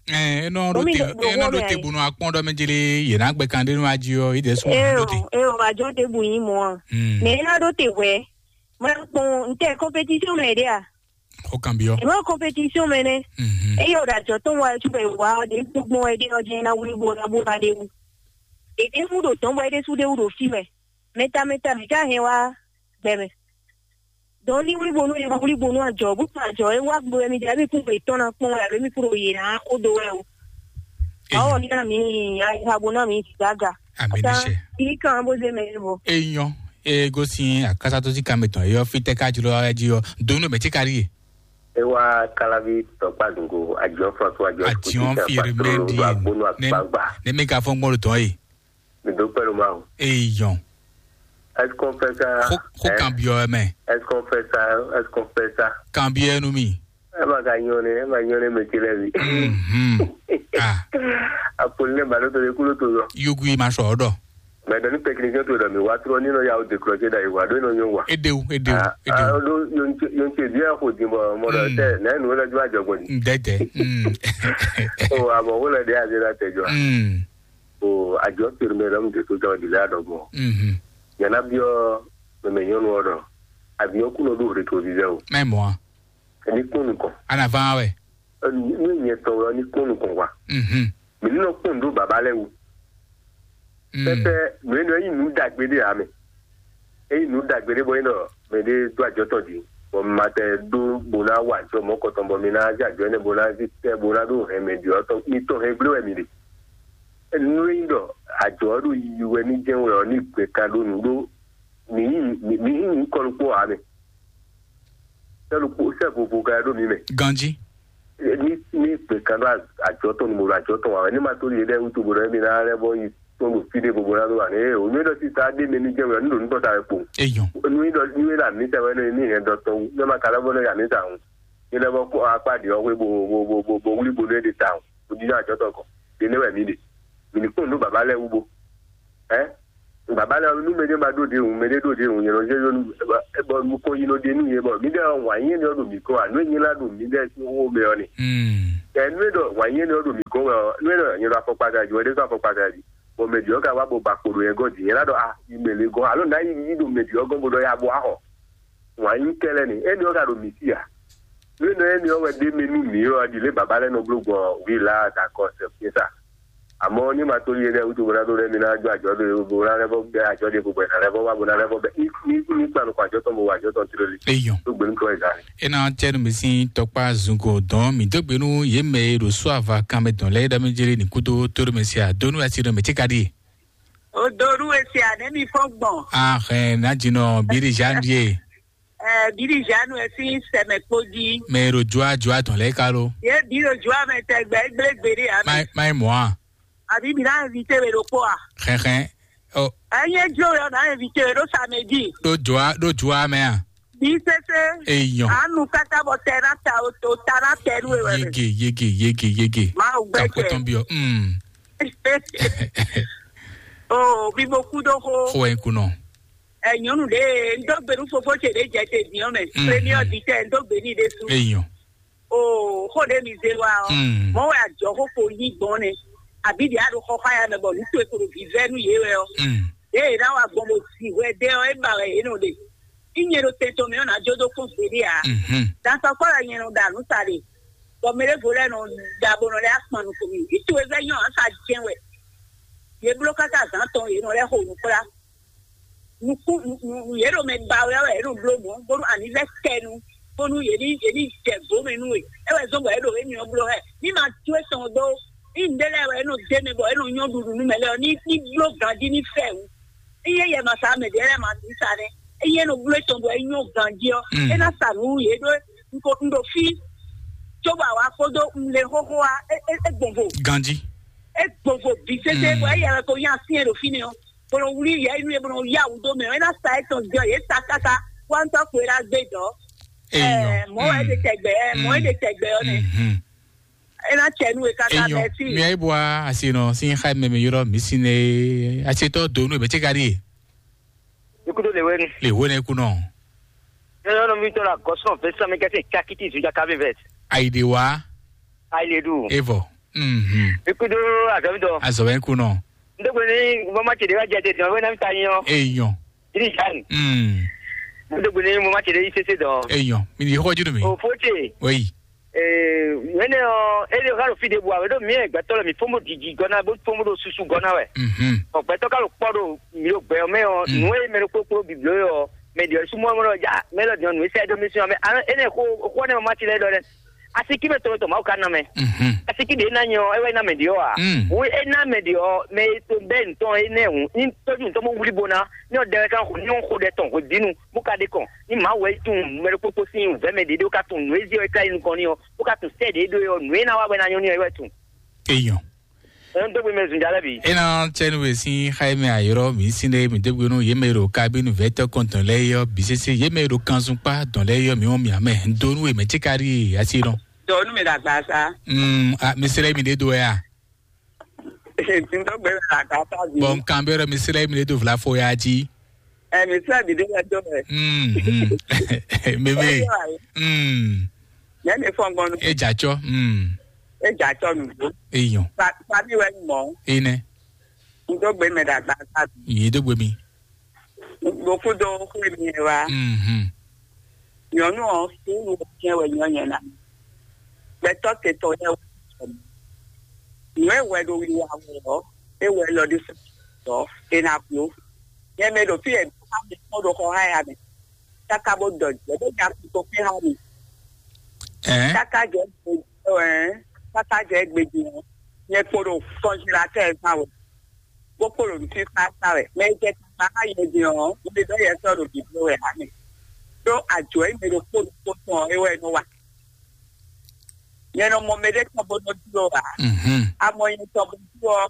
Ɛ enɔ ɖo Omi te ɖo- enɔ ɖo ɖo te ayé. Bonu akpɔn ɖɔ mɛ jele yena gbɛ kan ɖe nɔ aji ɔ yi ɖe sɔn Eo ɖo te. Eo ajo ɖe bu yín mɔ a. Mm. Mɛ é ná ɖó te hwɛ. Má kpɔn ntɛ compétition mɛ ɖe a. Xó kan byɔ́. Ema compétition mɛ nɛ. Mhm. Eye o ɖo ajɔ tɔn wa tu bɛ wa ɖe gbogbo wɛ ɖe ɔjɛ na wuli bo na bo na ɖe wu. Ɖeɖe wu ɖo tɔn bɔ ɖe su ɖe wu ɖo fi mɛ. Mɛta mɛta mɛ ka hɛn wa gbɛ mɛ. Dɔn ni wuli bonu ye wuli bonu ajɔ bu tun ajɔ e wa gbo mi jabi kun be tɔn na kpɔn wɛ alo mi kuro ye na ko do wɛ o. Awo ni na mi ayi ha bo na mi gaga. Ami ni se. Iri kan bo ze mɛ bo. Eyɔn e gosin akasatɔsi kan mɛtɔn eyɔ fitɛ ka jlo awa ji yɔ donu mɛ ti kari ye. E wá Kálábí tɔkpá zungo, Àjọ François, Àjọ Àjọ Kùtì, Fìrìmẹ́dì, agbónú ne- àgbààgbà. Ne mi ka fɔn gbɔn tɔn ye. Mi dúpẹ́ ló máa o. Eyɔn. Est-ce qu'on fait ça? Ko ko Hein? Kan biɔ mɛ. Est-ce qu'on fait ça? Est-ce qu'on fait ça? Kan biɔ nu mi. Ẹ máa ka yan ni, ẹ máa yan ni mɛ kele bi. Mhm. Ah. Àpòlí náà bàdó tó lè kúrò tó lọ. Yugu yi ma sɔ ɔdɔ. Mɛ dɔ ní technicien tó dɔ mi wá trɔ nínú ya o décroché da ìwà dó nínú yóò wà. Edewu, edewu, edewu. Ọdún yóò ń ṣe bí ẹ kò dín bọ̀ ọmọ rẹ tẹ náà nínú lọ́jọ́ àjọgbọ̀n ni. Ndẹ́tẹ̀. Mm. O àmọ́ wọ́n lọ dé àdé la tẹ̀jọ́. Mm. O àjọ tèrè mẹ́rin lọ́mú tètè tó jọ ìdílé àdọ́gbọ̀n. Mhm. Yàrá bí ọ mẹ̀mẹ̀ yọnu ọ̀rọ̀ àbí ọkùnrin ọdún òde tó zizẹ́ o. Mẹ́ mọ́ a. Ẹni kún nìkan. Ana van wɛ. Ní ìyẹn tọrọ ní kún nìkan wa. Mhm. Mɛ ní nɔ kpɔn ɖó baba lɛ wu. Mm. Pɛpɛ mɛ nɔ yi nu dagbe ɖe ame. Eyi nu dagbe ɖe bɔ yi nɔ mɛ ɖe do ajɔ tɔn di. Bɔ ma tɛ ɖo bo na wa ajɔ mɔ kɔtɔn bɔ mi na zi ajɔ ne bo na zi tɛ bo na ɖo hɛn mɛ di ɔtɔ mi tɔn hɛn gble wɛ mi ɖe. Nu yi ɖɔ ajɔ ɖo yi wɛ ní jɛ wɛ ɔ ní gbe kan ɖo nu ɖo mi yi mi yi kɔlu kpɔ ame. Sɛ ɖokpó sɛ vovo ka ɖo mi mɛ. Ganji. Ní ní gbè kan ɖo ajɔ tɔn numo ɖo ajɔ tɔn wa wɛ ní ma tó li ɖe wutu bo ɖɔ mi na lɛ bɔ yi tɔn ɖo fi ɖe vovo na ɖo wa ne o mi ɖɔ ti ta ɖe mɛ ní jɛ wɛ ní ɖo nukɔ ta wɛ kpo. Eyɔn. Nu yi ɖɔ nu yi ɖɔ ami sɛ wɛ ní ní hɛn dɔ tɔn wu ne ma ka lɛ bɔ ne ami sa ŋu. Ní lɛ bɔ kó akpa ɖi ɔwɛ bo bo bo bo bo wuli bo ne ɖe ta ŋu. O di ajɔ tɔn kɔ. Ɖe ne wɛ mi ɖe. Mi ní kpɔn nu baba lɛ wu bo. Ɛ. Baba lɛ nú mɛɖé ma ɖó ɖe hǔn, mɛɖé ɖó ɖe hǔn, nyɛ nɔ zé yɔ nú bɔ nukɔn yi nɔ ɖe nú yɛ bɔ mǐ ɖe wǎn nyɛ nɔ ɖo mǐ kɔ wa nú e nyɛ la ɖo mǐ ɖe sín xó mɛ ɔ ne. Ɛ nú e ɖɔ wǎn nyɛ nɔ ɖo mǐ kɔ wɛ ɔ, nú e ɖɔ nyɛ ɖo afɔkpata jí wɛ ɖé sɔ́ afɔkpata jí, bɔ mɛ ɖi ɔ́ ka wá bɔ ba kpo ɖo yɛ gɔ́ jí nyɛ la ɖɔ a yi mɛ lě gɔ́ alo ná yi yi ɖo mɛ ɖi ɔ́ gɔ́ bó ɖɔ ya bɔ axɔ wǎn nyí kɛlɛ ni émi ɔ́ ka ɖo mǐ sí a? Nú e nɔ émi ɔ́ wɛ ɖ'é mɛ nú mǐ ɔ́, ɖi lě baba lɛ́ɛ nɔ bló gbɔn wǐ la dakɔ sɛkpé sa. Àmọ́ ní ma tó yé ɖɛ́ wútu bó ná ɖó ɖɛ́ mi ná jó àjɔ ɖó bó ná lɛ́ bɔ bɛ àjọ ɖe bó bɔ ná lɛ́ bɔ wá bó ná lɛ́ bɔ bɛ ní ní ní kpa nukun àjọ tɔn bó wá àjọ tɔn tló lé. Eyɔn. Tó gbé nukun ɛ gán. E ná tɛ nu mi sín tɔkpa zungo dɔn mi dó gbe nú yě mɛ e ɖo só ava kanmɛ dɔn lɛ́ɛ ɖɔ mi jeli ní kúdó tó ɖo mi se a dó nú asi ɖɔ mi tí ka ɖi. O do nú esi a nɛ mi fɔn gbɔn. Ahɛn ná jinɔ bírí zan ɖie. Ɛ bírí zan nu esi sɛmɛ kpó jí. Mɛ e ɖo jua jua dɔn lɛ́ɛ ka lo. Ye bírí jua mɛ tɛ gbɛ gblégbé ɖe a. Má má mɔ a. Àbí mi ná invité mi ɖokpó a? Xɛxɛ. Ɔ. Ɛyin e jlo yɔ ná invité mi ɖo samedi. Ɖo jua ɖo jua mɛ a. Bí sese. Eyɔn. Anu kaka bɔ tɛ ná ta o to ta ná tɛ nú ewɛ mɛ. Yege yege yege yege. Máa gbẹ Kakó jẹ. Tɔn biɔ. Mm. O bí mo kú dó xó. Xó ɛ kunɔ. Ɛ nyɔnu ɖe n dó gbe nú fofó ce ɖe jɛ te diɔ mɛ. Mm, Premier mm. Di tɛ n dó gbe ní ɖe sú. Eyɔn. O xó ɖe mi zé wa ɔ. Mm. Mɔ wɛ àjọ xó ko yí gbɔn nɛ. Àbí ɖe aɖo xɔ xá ya mɛ bɔ nú to e ko ɖo vivɛ nú yé wɛ ɔ. Mm. Ɖe e ná wa gbɔn bo si hwɛ ɖe ɔ é ba wɛ yě nɔ ɖe. Í nyɛ ɖo tɛn tɔn mɛ ɔ́ ná jó dó kpɔ́n gbeɖé ǎ. Mhm. Dansɔkpɔ́ wɛ nyɛ nɔ ɖa nǔ sa ɖe, bɔ mɛ ɖěvo lɛ́ɛ nɔ ɖa bó nɔ lɛ́ akpan nukɔn mì. Í to e vɛ́ nyɔ́ ǎ sa jɛ́n wɛ. Yě bló káká zǎn tɔn yě nɔ lɛ́ xo nǔ kplá. Nukún yě ɖo mɛ ba wɛ wɛ yě ɖo bló mɔ̌, bónú anǐvɛ́ kɛ nu, bónú yě ní yě ní jɛ gǒ mɛ nú we. É wɛ zɔ́n bɔ yě ɖo émí ɔ́ bló hɛ. Ní ma jó etɔn dó, ní nǔɖé lɛ́ɛ wɛ é nɔ dó mɛ bɔ é nɔ nyɔ́ ɖuɖu nú mɛ lɛ́ɛ ɔ́, ní ní bló ganjí ní fɛ wǔ. Ényí é yɛ ma sa mɛ ɖě lɛ́ɛ ma sixú sa nɛ́. Ényí é nɔ bló etɔn bɔ é nyɔ́ ganjí ɔ́, Mm. É ná sa nǔ nú yě ɖó un ko un ɖo fí. Cóbɔ awǎ kpódó un le xóxó wá, é é é gbɔn vo. Ganjí. É gbɔn vo bǐ sésé Mm. Bɔ é yɛ wɛ ko nyí asyɛ́n ɖo fínɛ́ ɔ́. Bó nɔ wlí yɛ nú yě bó nɔ yá wǔ dó mɛ ɔ́, é ná sa étɔn jɔ yě sa káká wá ŋutɔ́ xwe ɖá gbé dɔ̌. Eyɔn. Ɛ, mɔ̌ wɛ é ɖe tɛgbɛ, ɛ, mɔ̌ é ɖe tɛgbɛ ɔ́ nɛ. Mhm. É ná cɛ nú we káká Eyɔn. Mɛsí. Mia yi bua asi nɔ sin xa mɛ mi yɔrɔ mi sin ne asi tɔ do nu bɛ tse ka di. Ikudo le wenu. Le wenu eku nɔ. Yɔrɔ mi tɔ la gɔsɔn vɛsɛ mi kɛse kakiti zuja kavi vɛs. Ayi de wa. Ayi le du. Evɔ. Mhm. Ikudo azɔmi dɔ. Azɔmi eku nɔ. Ndogbe ni mama ce de wa jɛ de dɔn wena mi ta nyɔ. Eyɔn. Iri jan. Mm. Ndogbe ni mama ce de isese dɔ. Eyɔn. Mi di xɔ judu mi. O fote. Oyi. Ee, mɛnɛ ɔ, ele xa ɖo fi ɖe bu awe ɖo miɛ gbɛtɔ lɛ mi fɔn bo didi gɔna bo fɔn bo ɖo susu gɔna wɛ. Mhm. Ɔ gbɛtɔ ka ɖo kpɔ ɖo mi ɖo gbɛ ɔ mɛ ɔ, Mm. Nu e mɛ ɖo kpokpo biblo yɔ, mɛ ɖiɔ sumɔ mɔ ɖɔ ja, mɛ lɔ diɔ nu e sɛ ɖo mi sɔ mɛ. Alo ene xo xo ne ma ti lɛ ɖɔ dɛ. Asiki mɛ tɔmɛ tɔ ma ka na mɛ. Mhm. Asiki de na nyɔ e wɛ na mɛ ɖiɔ a. Mm. Wo e na mɛ ɖiɔ mɛ to bɛ ntɔn e nɛ hu. Ni tɔju ntɔn mo wuli bona. Ni ɔ dɛ kan xo ni ɔ xo dɛ tɔn xo dinu. Bó ka ɖe kɔn ní màá wɛ tunwun mɛ ɖokpó kpó sín wǔvɛ́ mɛ ɖě ɖó ka tunwun nǔ e zé ɔ́ é ka yi nukɔn n'i ɔ́, bó ka tunwun sɛ́ ɖě ɖó é ɔ́, nǔ e ná wá wɛ ná nyɔ́ n'i ɔ́ é wɛ tunwun. Eyɔn. Ɛn dó gbe mɛ zun jalɛ bi. Ena tsɛnu we sin xayime ayɔrɔ mi sin ɖe mi dégbe nú yé mɛ ɖo kabinu vɛtɔ kɔntɔn lɛ yɔ bisese yé mɛ ɖo kanzun kpa dɔn lɛ yɔ mi wɔn mi amɛ donu we mɛ tsikari asi nɔ. Dɔnu mi dagba sa. Mm, a mi sere mi de do ya. Ntɔgbe la ka ta bi. Bɔn kan bɛ mi sere mi de do vla fo ya ji. Ɛ mi sere mi de ya do ɛ. Mm. Meme. Mm. Yɛ mi fɔn gbɔn nu. E ja tsɔ. Mm. E ja tsɔ nu. Eyɔn. Sa sa mi wɛ mɔ. Ene. Ntɔgbe mi dagba sa. Yi dogbe mi. Ɖo kúdó xwé mi wá. Mhm. Nyɔnu ɔ́, suúlu jɛ́n wɛ nyɔ́ nyɛ ná. Gbɛtɔ́ te tɔn yɛ wɛ. Nǔ e wɛ ɖo wiwa wɛ ɔ́, é wɛ lɔ ɖé sɔ́ é ná kú. Nyɛ mɛ ɖo fí e ká mi kpɔ́n ɖo xɔ há ya mɛ. Káká bó dɔ jɛ bó nya kú tó fí há mi. Ɛɛ. Káká jɛ gbé ɛ káká jɛ gbé din ɔ́, nyɛ kpo ɖo kɔnjilatɛ́ ɛ gbán wɛ. Bó kpo ɖo nǔsísá sa wɛ. Mɛ e jɛ tagba xá nyɛ din ɔ́, un ɖe ɖɔ yɛ sɔ́ ɖo bǐbló wɛ ǎ mɛ. Ɖó ajɔ̌ e mɛ ɖokpó ɖokpó tɔn ɔ́, é wɛ é nɔ wa. Nyɛ nɔ mɔ mɛɖé tɔn bó nɔ dló ǎ. Mhm. Amɔ nyɛ tɔn bó dló ɔ́,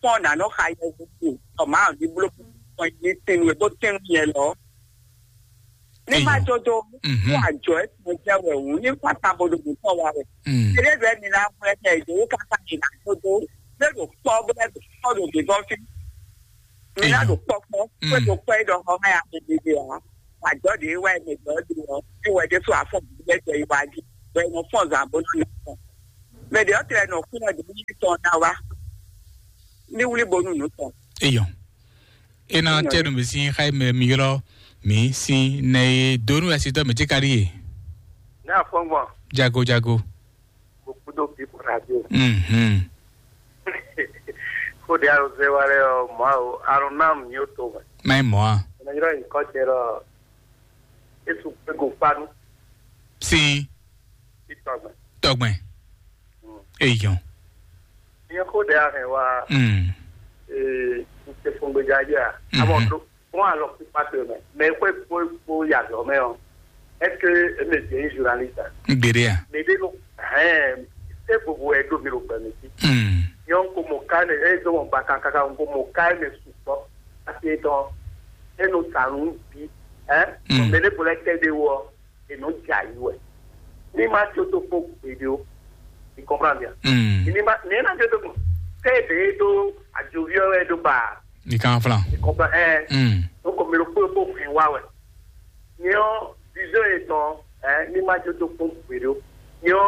tɔn nǎ nɔ xa yɛhwesin, bɔ Mawu ní bló kpɔ́n ní sin nú we bó tɛ́n nú nyɛ lɔ. Ní ma Eyɔn. Jó dó, Mhm. Kó àjɔ é tɔn jẹ́ wɛ wǔ, ní kó àtàbò ɖo nǔ tɔn wa wɛ. Mm. Eré bẹ́ẹ̀ mi ná mú ẹ tẹ̀ ìdòwú káká yìí ná jó dó, lé ɖo kpɔ́ bó lẹ́ ɖo kpɔ́ ɖo gběgbɔ́ fí. Mi ná ɖo kpɔkpɔ, kó ɖo kpɔ é ɖɔ xɔ mɛ a mɛ ɖe ǎ. Àjọ ɖe wá mɛ ɖɔ ɖe ɔ, é wɛ ɖésú afɔ bíbí jɛ yi wá jí, bɔ é nɔ fɔn zan bó nɔ fɔn. Mɛ ɖe ɔ́ tlɛ nɔ kú nɔ ɖe ní tɔn ná wá. Ní wlí bónú nǔ tɔn. Eyɔn. Ena tɛnu mi sin xayi mɛ mi ylɔ mi sin nɛ ye donu ɛsitɔ mi ti ka ɖi ye. Ní afɔngbɔn. Jago jago. Mo kúdó bí bó radio. Mhm. Kóde alóze wa lɛ ɔ mɔ o, alɔnam ni o to mɛ. Mayi mɔ a. Ɛnɛ ylɔ yi kɔ jɛ lɔ. Esu gbego kpanu. Sin. Itɔgbɛ. Tɔgbɛ. Eyɔn. Nyɛ kóde ahɛn wa. Mm. Ee, n te fún gbedza dzi a. Mhm. Amɔ do fún alɔ kpíkpá te mɛ. Mɛ kó kó kó yàgò mɛ ɔ. Est-ce que e mɛ jɛ journaliste a? Gbede a. Mɛ de no. Ɛɛ, se gbogbo ɛ do mi lo gbɛ mi ti. Mm. Nyɛ n ko mo ka ne e do mo ba kan kaka n ko mo ka ne sukpɔ. Ati etɔn e no sanu bi. Ɛɛ. Mm. Mɛ de bolɛ tɛ de wɔ. E nɔ dza yi wɛ. Ní ma tso tó kpó gbèdé o. Tu comprends bien? Mm. Ní ma ní na tso tó kpó. Tẹ́ ebe ɖó adzɔviɔ wɛ ɖó ba. Ní kan flan. Tu comprends? Ɛ. Mm. Donc mi ɖo kpó kpó hɛn wa wɛ. Ní ɔ vision yɛ tɔn ɛ ní ma tso tó kpó gbèdé o. Ní ɔ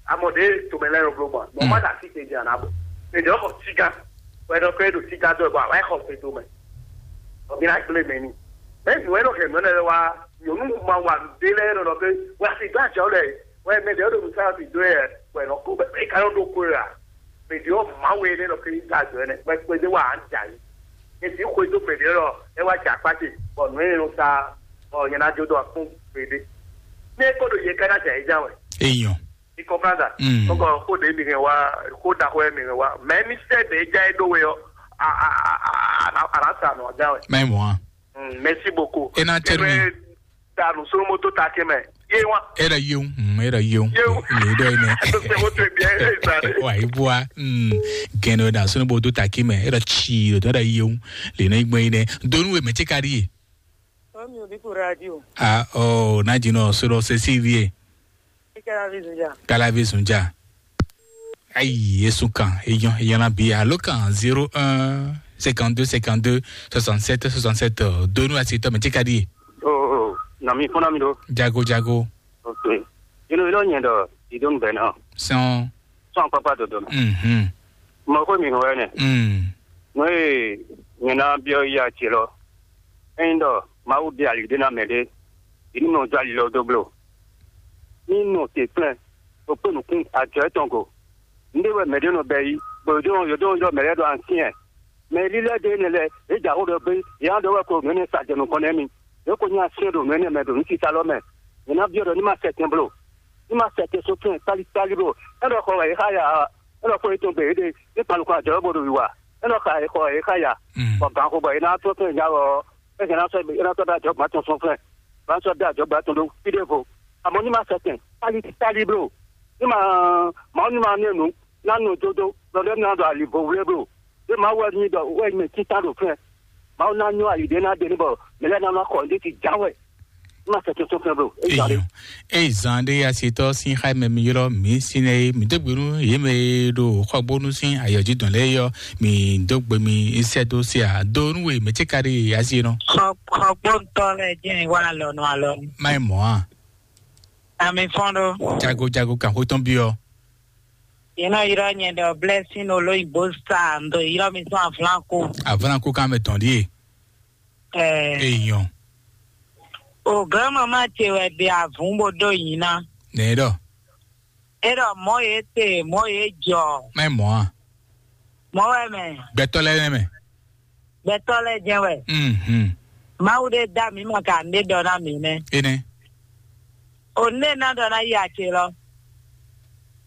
amɔ ɖe tòmɛ lɛ yɔ blo gbɔn. Mɔ ma da si te di ana bɔ. Mɛ ɖe ɔkɔ siga. Wɛ ɖɔ kɛ ɖo siga dɔ bɔ awa xɔ fe do mɛ. Ɔ mi na gblé mɛ ni. Mɛ nu wɛ nɔ hɛn nɔ lɛ wa. Nyɔnu ma wa nǔɖé lɛ́ɛ nɔ nɔ pé wɛ asi dó ajɔ lɛ wɛ mɛ ɖe ɖo nǔsá fi dó yɛ wɛ nɔ kó bɛ ka nɔ ɖó kó yɛ a mɛ ɖe ɔ ma wɛ ne nɔ pé ní ta ajɔ ɛnɛ wɛ kpé dé wa an dza yi. Esi xwe dó mɛ ɖe lɔ ɛ wa dza kpá ce bɔ nǔ e nɔ sa ɔ nyɛ na jó dó akpɔn gbeɖé. Ne kó ɖo yɛ ká ná dza yi dza wɛ. Eyɔn. Ní kɔmplanda. Mm. Kɔkɔ kó ɖe mi hɛn wa kó da xɔ mi hɛn wa mɛ mi sɛ ɖe dza yi ɖó we ɔ a a a a a sa nɔ dza wɛ. Mɛ mɔ a. Mm, merci beaucoup. E na tɛ mi. Danu sunu moto ta ke mɛ. Ye wa. E da yewu, mm, e da yewu. Yewu. Le dɔ yi nɛ. Sɛ moto bi e sa de. Wa yi bua. Mm, gɛnɛ da sunu moto ta ke mɛ. E da tsi, e da yewu. Le na igbɛ yi nɛ. Donu we mɛ ti ka di ye. Omi obi ku radio. Ah, oh, na dzi nɔ so dɔ se si vie. Kalavi zunja. Kalavi zunja. Ayi, esun kan, eyan, eyan na bi alo kan zéro un cinquante-deux cinquante-deux soixante-sept soixante-sept, euh, donu asitɔ mɛ ti ka di. Oh, oh, na mi fɔna mi do. Jago jago. Ok. Ino ilo nyɛ dɔ idon bɛ na. Sɔn. Sɔn papa dodo na. Mhm. Mɔ ko mi hɔn ne. Mm. Mo e nyɛ na biɔ ya ti lɔ. Ɛyin dɔ Mawu di ali de na mɛ de. Ini nɔ jɔ ali lɔ do blo. Ní nɔ te kplɛ́n, bó kpé nǔkún ajɔ étɔn go. Nǔɖé wɛ mɛ ɖé nɔ bɛ yí, bɔ yǒdó yǒdó ylɔ́ mɛ lɛ́ɛ ɖɔ ansyɛ́ɛn. Mɛ lílɛ́ ɖé énɛ́ lɛ́ɛ, é jɛ xó ɖɔ gbé, yě ná ɖɔ wɛ ko nǔ énɛ́ sa jɛ nukɔn nú émí. Yě ko nyí ansyɛ́ɛn ɖo nǔ énɛ́ mɛ ɖo nǔsisa lɔ mɛ. Yě ná byɔ́ ɖɔ ní ma sɛ tɛn blo, ní ma sɛ tɛn só tɛn kálikáli blo. É ɖɔ xɔ wɛ yě xá ya ǎ, é ɖɔ xó yětɔn gbe yě ɖe, ní kpan nukɔn ajɔ̌ bó ɖo wiwa. É ɖɔ xa yě xɔ wɛ yě xá ya, bɔ gǎn xo bɔ yě ná tɔ́n tɛn ja wɛ ɔ́, é hɛn ná sɔ́ é ná sɔ́ ɖó ajɔ̌gbɔ́ tɔn sɔ́ flɛ́. Bá sɔ́ dó ajɔ̌gbá tɔn ɖó fí ɖěvo. Amɔ̌ ní ma sɛkɛn, táli táli bló. Ní ma Mawu ní ma nɛ́ nǔ, ná nɔ dódó, lɔ ɖé ná ɖɔ ali vo wlé bló. Ɖé Mawu wɛ ní ɖɔ wɛ mɛ títá ɖo fɛ́. Mawu ná nyɔ́ ali ɖé ná ɖe ní bɔ mɛ lɛ́ɛ ná nɔ xɔ ní ti jǎ wɛ. Ní ma sɛkɛn sɔ́ fɛ́ bló. É jǎ ɖé. Eyɔn, eyi zan ɖé asitɔ sín xá mɛ mi ylɔ́ mǐ sín ɛ é, mǐ dó gbe nú yě mɛ e ɖo xɔgbónú sín ayɔ̌jidɔn lɛ́ɛ é ɔ́, mǐ dó gbe mi sɛ́ dó se ǎ. Do nú we mɛ̌ ce ka ɖe asi é nɔ? Xɔgbóntɔ́ lɛ́ɛ jɛ́n wá alɔnu alɔnu. Má nyí mɔ̌ a? Ami fɔ́n ɖó. Jago jago kan xó tɔn byɔ́. Yě nɔ ylɔ́ nyɛ ɖɔ Blessing Olóyìnbó sa ndo ylɔ́ mi sɔ́ Avlanku. Avlanku kan mɛ tɔn ɖíe. Ɛɛ. Eyɔn. O grandmama ce wɛ ɖe avǔn bó ɖó yǐ ná. Nɛ ɖɔ. É ɖɔ mɔ̌ yě te, mɔ̌ yě jɔ. Má nyí mɔ̌ a? Mɔ̌ wɛ mɛ. Gbɛtɔ́ lɛ́ɛ nɛ́ mɛ. Gbɛtɔ́ lɛ́ɛ jɛ́n wɛ. Mhm. Mawu ɖé dá mǐ ma ka nǔɖé ɖɔ ná mǐ nɛ́. Énɛ́. O nǔɖé ná ɖɔ ná yi ace lɔ.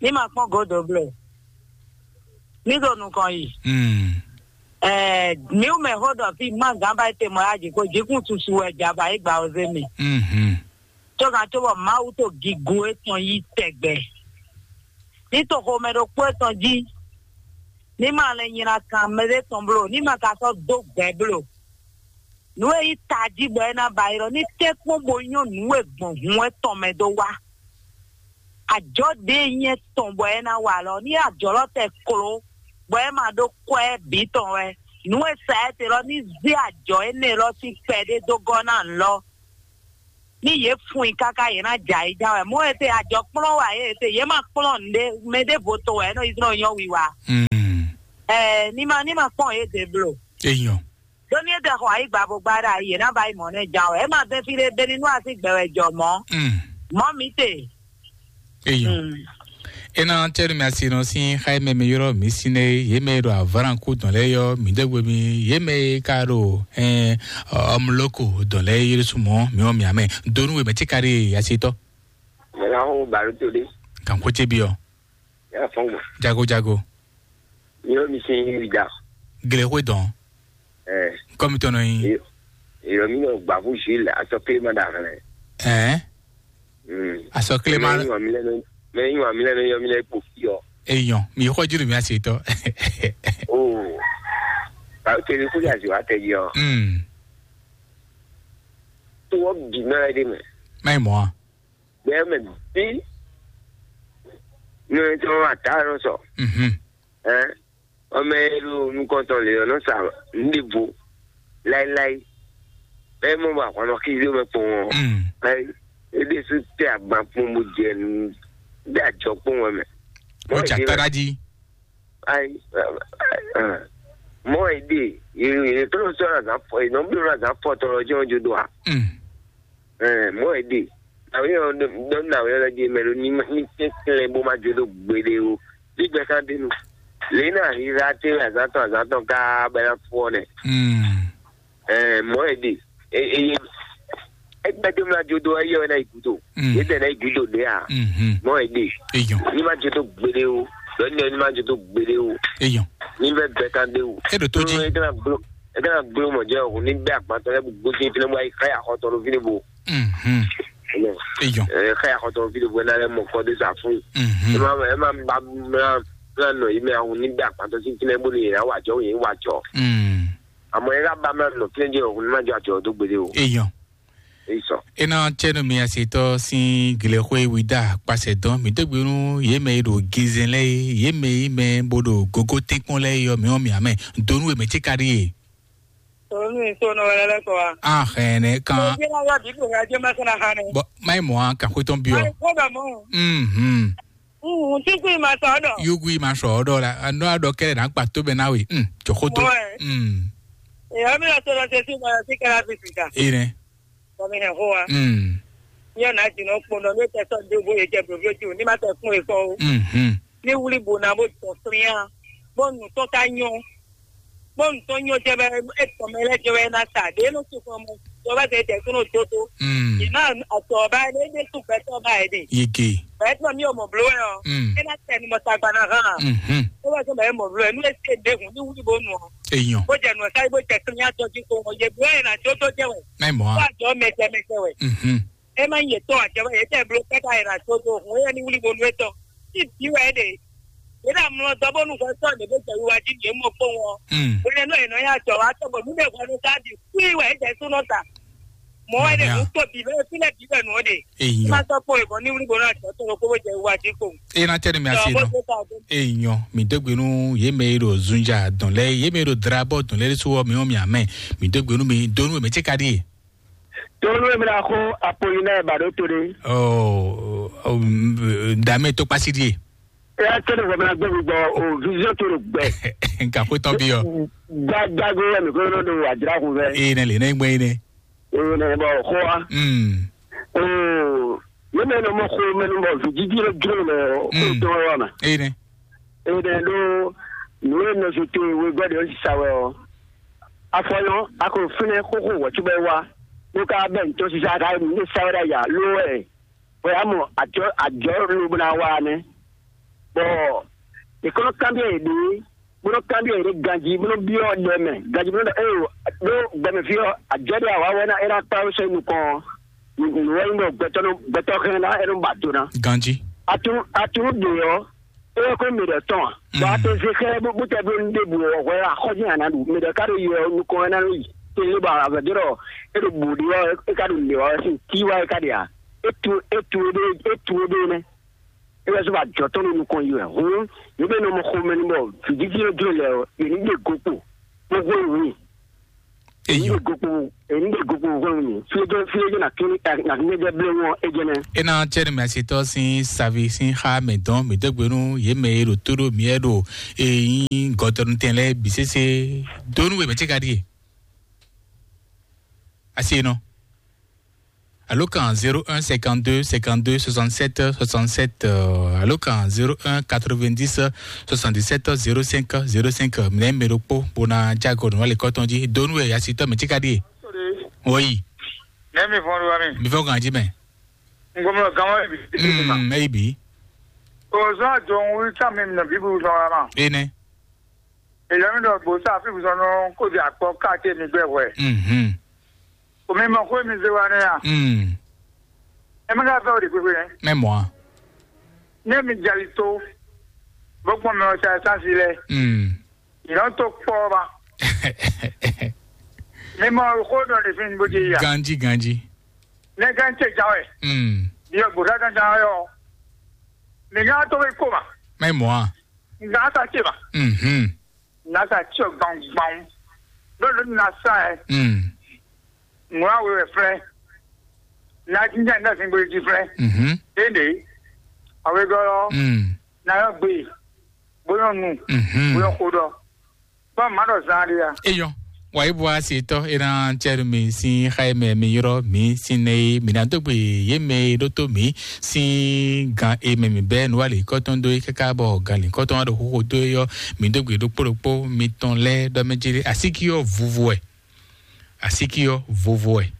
Ní ma kpɔ́n gǒdo bló. Ní ɖo nukɔn yi. Mm. Ɛɛ, mǐ mɛ xó ɖɔ fí má gǎn ba te mɔ yá jǐ kó jǐkún susu wɛ jà ba é gba ɔ́ zé mì. Mhm. Tó gǎn tó bɔ Mawu tó gigo étɔn yí tɛgbɛ. Ní to xomɛ ɖokpó étɔn jí. Ní ma lɛ nylá kan mɛ ɖé tɔn bló. Ní ma ka sɔ́ dó gbɛ bló. Nǔ e nyí tají bɔ é ná ba ylɔ́ ní tɛ́nkpɔ́n bó nyɔ́ nǔ e gbɔn hun etɔn mɛ dó wá. Ajɔ̌ ɖě e nyí etɔn bɔ é ná wa lɔ, ní ajɔ̌ lɔ tɛ kló, bɔ é ma ɖó kwɛ́ bǐ tɔn wɛ, Nǔ e sa ɛ te lɔ ní zé ajɔ énɛ́ lɔ sín kpɛɖé dó gɔ́ ná nǔ lɔ. Ní yě fun i káká yě ná jɛ ayǐján wɛ. Mɔ̌ e te ajɔ kplɔ́n wɛ yě te yě ma kplɔ́n nǔɖé mɛ ɖěvo to wɛ é nɔ yi zlɔ́n nyɔ́ wiwa. Mm. Ɛɛ ní ma ní ma kpɔ́n yě dě blo. Eyɔn. Ɖó ní é tɛ xɔ ayǐ gbavo gbá ɖa yě ná ba yi mɔ̌ nɛ́ ján wɛ. É ma bɛn fí ɖé beni nú así gbɛ wɛ jɔ mɔ̌. Mm. Mɔ̌ mi te. Eyɔn. Mm. Ena tɛnu mi asi nɔ sín xa mɛ mi yɔrɔ mi sín ne yé mɛ ɖo avaran kú dɔn lɛ yɔ mi dɛgbɛ mi yé mɛ ka ɖo ɛn ɔmuloko dɔn lɛ yé sumɔ mi ɔ mi amɛ donu wɛ mɛ tí ka ɖe asi tɔ. Mɛ la xo baro to ɖe. Kan ko tse bi ɔ. Ya fɔn gbɔ. Jago jago. Mi ɔ mi sin yi da. Gele xwe dɔn. Ɛ. Kɔmi tɔnɔ yi. Yɔ mi nɔ gbavu Jules asɔ kile ma da xlɛ. Ɛn. Mm. Asɔ kile ma. Mɛ yi wa mi lɛ nɔ mɛ yi wa mi lɛ nɔ yɔ mi lɛ kpo fi ɔ. Eyɔn mi xɔ jiri mi ase tɔ. O. Ba kele ko ya zi wa tɛ yi ɔ. Mm. To wɔ bi ma yɛ de mɛ. Mai mɔ a. Bɛ mɛ bi. Nɔ tɔ wa ta nɔ sɔ. Mhm. Ɛn. Ɔmɛ e ɖo nukɔntɔn lě ɔ́ nɔ sa nǔɖivo láéláé. Bɛ́ mɔ bɔ ahwan nɔ xízé mɛ kpowun ɔ́, mm, é ɖésú tɛ agban kpowun bó jɛ nǔ ɖe ajɔ kpowun ɔ́ mɛ. Ó jà táɖá jí. Ayi, mɔ è ɖe, yě tɔ́ nɔ sɔ́ azǎn fɔ, yě nɔ bló azǎn fɔ tɔn lɔ jɛ́n ɔ́ jó dó a? Mm. Ɛɛ, mɔ̌ wɛ ɖe. Nǎwe ɔ́ ɖɔ nǎwe ɔ́ lɛ́ ɖíe mɛ ɖó ní ní tɛ́ntlɛ́n bó má jó dó gbeɖé ó. Ní gbɛ́ ká ɖe nu. Lě ná híhá tɛ́nwe azǎn tɔn azǎn tɔn káá bɔ é ná fú ɔ́ nɛ́. Mm. Ɛɛ, mɔ̌ wɛ ɖe. Eye ẹgbẹ́ tó ná jó dó ẹyẹ wɛ ná yi gúdo. Mm. Yě tẹ̀ ná yi gúdo ɖě à. Mhm. Mɔ̌ wɛ ɖe. Eyɔn. Ní má jó dó gbeɖé ó. Lɔ ní ní má jó dó gbeɖé ó. Eyɔn. Ní bɛ gbɛ ká ɖe ó. E ɖo tó jí. Tó é tɛ́ ná gbló é tɛ́ ná gbló mɔ jẹ́ òun ní bɛ àgbàtọ́ lẹ́bù gbójú ìfínà bó ayé káyà xɔtɔ ló fi ní bo. Mhm. Eyɔn. Ɛ xɛ axɔtɔ fi ɖo bɔ na lɛ mɔ kɔ de sa fún. Mhm. Ema ema ba mla mla nɔ yi mɛ ahun ni da kpatɔ si finɛ bo ni yɛ wa jɔ yɛ wa jɔ. Mm. Amɔ yɛ ka ba mla nɔ finɛ jɛ ohun ma jɔ ajɔ do gbede o. Eyɔn. Eyi sɔ. Ena tsɛnu mi asetɔ sin gilexwe wida kpasɛ dɔn mi degbe nu ye mɛ yi ɖo ginzɛn lɛ yi ye mɛ yi mɛ bo ɖo gogo tɛnkpɔn lɛ yi yɔ mi wɔn mi amɛ donu eme tse ka ɖi ye. Tòun ní ìṣó nɔ wɛrɛ lɛ kɔ wa. Ahɛnɛ kan. Òbí náà yọ dìbò rẹ ajé mẹsàn án hàn ní. Bɔ mayi mɔ an kan xwetɔn bi ɔ. Mayi kó bẹ mọ. Mhm. Uhun tí kú ìmọ̀ sọ ọ́dọ̀. Yugu yi ma sɔ ɔdɔ la anɔ adɔ kɛlɛ na gba to bɛ na we. Mm. Jɔxo to. Mɔ ɛ. Mm. Èyí mi lọ sọ̀rọ̀ ṣe sí ìmọ̀ràn sí kẹ́lá fi sìkà. Ene. Kọ́mi hɛn xó wa. Mm. Yóò ná jìnnà kpɔnɔ ní tẹ̀sán dé bóyá jẹ bòbí ojú ní má tẹ̀ fún èkó o. Mhm. Ní wúlí bò náà bó jọ fúnyá bó nù tó ká nyọ́. Bó nù tó nyọ́ jẹ́ bẹ́ẹ̀ é tọ̀ mẹ́ lẹ́jọ́ bẹ́ẹ̀ ná sa dé ló ti fún ọmọ tó bá tẹ̀ tẹ̀ kúrò tó tó. Mm. Ìmá ọ̀tọ̀ ọba ẹ̀ lé dé tún bẹ́ẹ̀ tọ́ ọba ẹ̀ dé. Yege. Bẹ́ẹ̀ tọ́ mi ò mọ̀ bló ẹ̀ ọ́. Mm. É ná tẹ̀ ní mọ̀ tagba náà hàn. Mhm. Tó bá tẹ̀ mọ̀ ẹ̀ mọ̀ bló ẹ̀ nú ẹ̀ sí ẹ̀ dé hùn ní wúlí bó nù ọ́. Èèyàn. Bó jẹ nù ọ́ sáré bó jẹ kí ní àjọ jí kó wọ́n yẹ bló ẹ̀ ná tó tó jẹ́ wẹ̀. Mẹ́ mọ̀ á. Bó àjọ mẹ̀jẹ mẹ̀jẹ wẹ̀. Mhm. E ma nyí yětɔn ǎ, cɛ́ wɛ yě tɛ bló káká è nǎ dó dó hun éyɛ́ ní wlí bónú étɔn. Tí bǐ wɛ é ɖe. Yě ɖo amlɔ dɔ bónú hwɛ sɔ́ ɖě bó jɛ wiwa jí yě mɔ kpɔ́n ɔ́. Mm. Hwenɛ́nu è nɔ nyi ajɔ wá tɔ́ bɔ nǔ ɖé hwɛnu ká bǐ kúí wɛ é jɛ súnɔ ta. Mɔ̌ wɛ ɖe Mɔ̌ nǔ tó bǐ lɛ́ fí lɛ́ bǐ wɛ nǔ ɔ́ ɖe. Eyɔ. Má sɔ́ kpɔ́n è gɔn ní wlí bónú ajɔ tɔn ɖokpó bó jɛ wiwa jí kpowun. Eye na tɛ nu mi asi Dɔn bó nɔ. Dé ta dé. Eyɔ, mi dégbe nú yé mɛ e ɖo zunja dɔn lɛ, yé mɛ e ɖo drabɔ dɔn lɛ ɖésú wɔ mi wɔ mi amɛ. Mi dégbe nú mi dó nú mɛ tse ka ɖi. Tolu e mla xo Apollinaire Baɖo to ɖe. Ɔ, ɔ, dame to kpasi ɖie. Eya tse ɖe vɔmla gbɛ gbɔ o vision to ɖo gbɛ. Nka xo tɔn bi ɔ. Gbagbago wɛ mi ko nɔ ɖo adzra kun fɛ. Ee ne le ne gbɛ yi ne. Ee ne bɔ xo wa. Mm. Oo, ne mɛ nɔ mɔ xo mɛ nɔ bɔ vi didi ɖe dro nɔ xo Mm. Dɔn wa ma. Ee ne. Ee ne ɖo nu e nɔ zo to we gbɔ de o sisa wɛ ɔ. Afɔyɔn, a ko fínɛ́ xóxó wɛ̌ cóbɔ é wá, bó ka bɛ́ nǔ tɔn sísá ka yi nǔ sá wɛ ɖ'ayǐ ǎ, lo wɛ, bɔ yě mɔ ajɔ̌ ajɔ̌ lo bó ná wá ɔ́ nɛ́. Bɔ è ko nɔ kanbyɔ́ yěɖée, bó nɔ́ kanbyɔ́ yěɖée ganjí, bó nɔ́ byɔ́ ɖɛ mɛ ganjí, bó nɔ́ ɖɔ éeǒ, ɖó gbɛmɛ fí ɔ́, ajɔ̌ ɖé awǎ wɛ ná é ná kpá wú sɔ́ nukɔn ɔ́, nǔ wɛ nyí bɔ gbɛtɔ́ nɔ gbɛtɔ́ hɛn ná é nɔ ba do ná. Ganjí. Atunu atunu ɖě ɔ́, é wɛ kó mɛ ɖɔ tɔn a? Bɔ a tɛ ze xɛ bó tɛ bló nu ɖěbǔ ɔ́, hwɛ axɔ́ jɛ́n a nǎ ɖu. Mɛ ɖɔ ká ɖo yɛ ɔ́ nukɔn wɛ ná nɔ yi. Tele bɔ avɛdó ɖɔ é ɖo bǔ ɖi ɔ́, é ka ɖo lě wá wɛ sín tí wá é ka ɖe a? É tu é tu é ɖé é tu é ɖé nɛ́. É wɛ zó ba jɔ tɔn ɖo nukɔn yi wɛ. Hǔn, yě mɛ nɔ mɔ xomɛ nu bɔ vǐjiji e jló lɛ ɔ́, yě ní ɖe go kpo. Gbogbo èyí. Èyí. Èyí lè gokpo, èyí lè gokpo gbogbo èyí. Fílẹ́jẹ́, fílẹ́jẹ́ nà kí, nà kí jẹ́ blé wọn, é jẹ́ nɛ. E na tsɛ ni mɛ asitɔ sin savi sin xa mɛ dɔn mi dɛgbenu ye mɛ e ɖo to ɖo mi e ɖo eyin gɔtɔnu tɛn lɛ bi sese donu we mɛ tse ka ɖie. Asi nɔ. Alo kan zéro un cinquante-deux cinquante-deux soixante-sept soixante-sept, euh, alo kan zéro un quatre-vingt-dix soixante-dix-sept zéro cinq zéro cinq. Minɛ mɛ ɖokpo bona jago nɔ wale kɔtɔn ji donu e asitɔ mɛ tse ka ɖie. Oyi. Nɛ mi fɔn ɖo wa mi. Mi fɔn kan ji mɛ. Ngomɔ gan wa bi. Mm, eyi bi. O zɔn jɔn wi sa mi na bibu zɔn wa ma. Ene. Èyí mi ɖɔ gbó sa fi bùsɔn nɔ kó di akpɔ káàkiri mi gbɛ hwɛ. Mhm. Omi mɔ xó mi zé wa nɛ ya. Mm. Ẹ mi ka fẹ́ o de gbégbé yẹn. Mɛ mɔ a. Ní mi jali tó. Bó kpɔn mi ọ̀sẹ̀ sáńsì lẹ. Mm. Ìran tó pọ̀ ma. Mi mọ xó dɔ lè fi ní bó ti yà. Ganji ganji. Ní ká ń tẹ̀ jáwé. Mm. Bí ọgbọ̀n ká ń jáwé ọ. Mi ká tó fi kó ma. Mɛ mɔ a. Nga ata ce ma. Mhm. Nga ata ce gbangban. Lolo na sa ɛ. Mm. Ŋua we wɛ flɛ. Na jinjɛ na sin gbolo ji flɛ. Mhm. Ende. Awe gɔlɔ. Mm. Na yɔ gbe. Boyɔ nu. Mhm. Boyɔ kodɔ. Bɔn ma dɔ zan de ya. Eyɔ. Wa yi bɔ ase tɔ e na tsɛ mi sin xa e mɛ mi yɔrɔ mi sin ne mi na dogbe ye mɛ ɖo to mi sin gan e mɛ mi bɛ nu ali kɔtɔn do yi kaka bɔ gan li kɔtɔn wa ɖo xoxo do yi yɔ mi dogbe ɖokpo ɖokpo mi tɔn lɛ dɔ mɛ jeli asiki yɔ vuvu ɛ. Asiki yɔ vovo ɛ.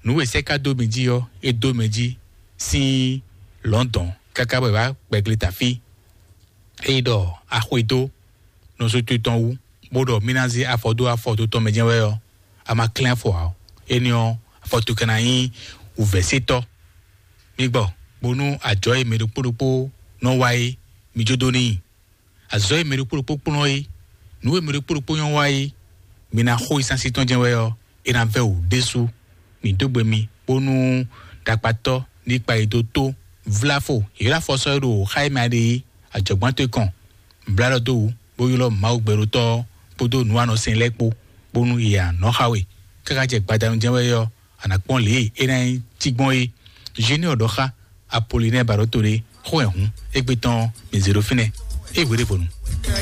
Nu e sɛ ka do mi ji yɔ e do mɛ ji sin lɔndɔn kaka bɔ e ba kpɛgle tafi. Eyi ɖɔ axwe do nɔsotwi tɔn wú, bó ɖɔ mí ná zé afɔ dó afɔ dó tɔn mɛ jɛ́n wɛ ɔ́, a ma klɛ́n afɔ ǎ. Énɛ́ ɔ́, afɔ towe ka ná nyí wǔvɛ́setɔ́. Mi gbɔ, bónú ajɔ̌ e mɛ ɖokpó ɖokpó nɔ wa é, mi jó dó n'i. Azɔ̌ e mɛ ɖokpó ɖokpó kplɔ́n é, nǔ e mɛ ɖokpó ɖokpó nyɔ́ wa é, mi ná xo yi sín así tɔn jɛ́n wɛ ɔ́, é ná vɛ́ wǔ ɖésú. Mǐ dó gbe mi, bónú ɖakpatɔ́ ní kpa yi dó tó vláfo, yě ɖo afɔ sɔ́ é ɖo xá e mɛ a ɖe é, ajɔ̌gbán towe kɔn, blá ɖɔ dó wǔ, bó ylɔ́ Mawu gbɛɖótɔ́ ɔ́ kpódó nǔwanɔsɛn lɛ́ɛ kpó, bónú yě ná nɔ xá we. Káká jɛ gbadanu jɛ́n wɛ ɔ́, a nǎ kpɔ́n lě e é ná nyí cí gbɔn é. Zénée ɔ́ ɖɔ xá Apolinɛ́ɛ ba ɖó to ɖé, xó wɛ hǔn, égbé tɔn ɔ́, mǐ zé ɖó fínɛ́. É hwe ɖěvo nu.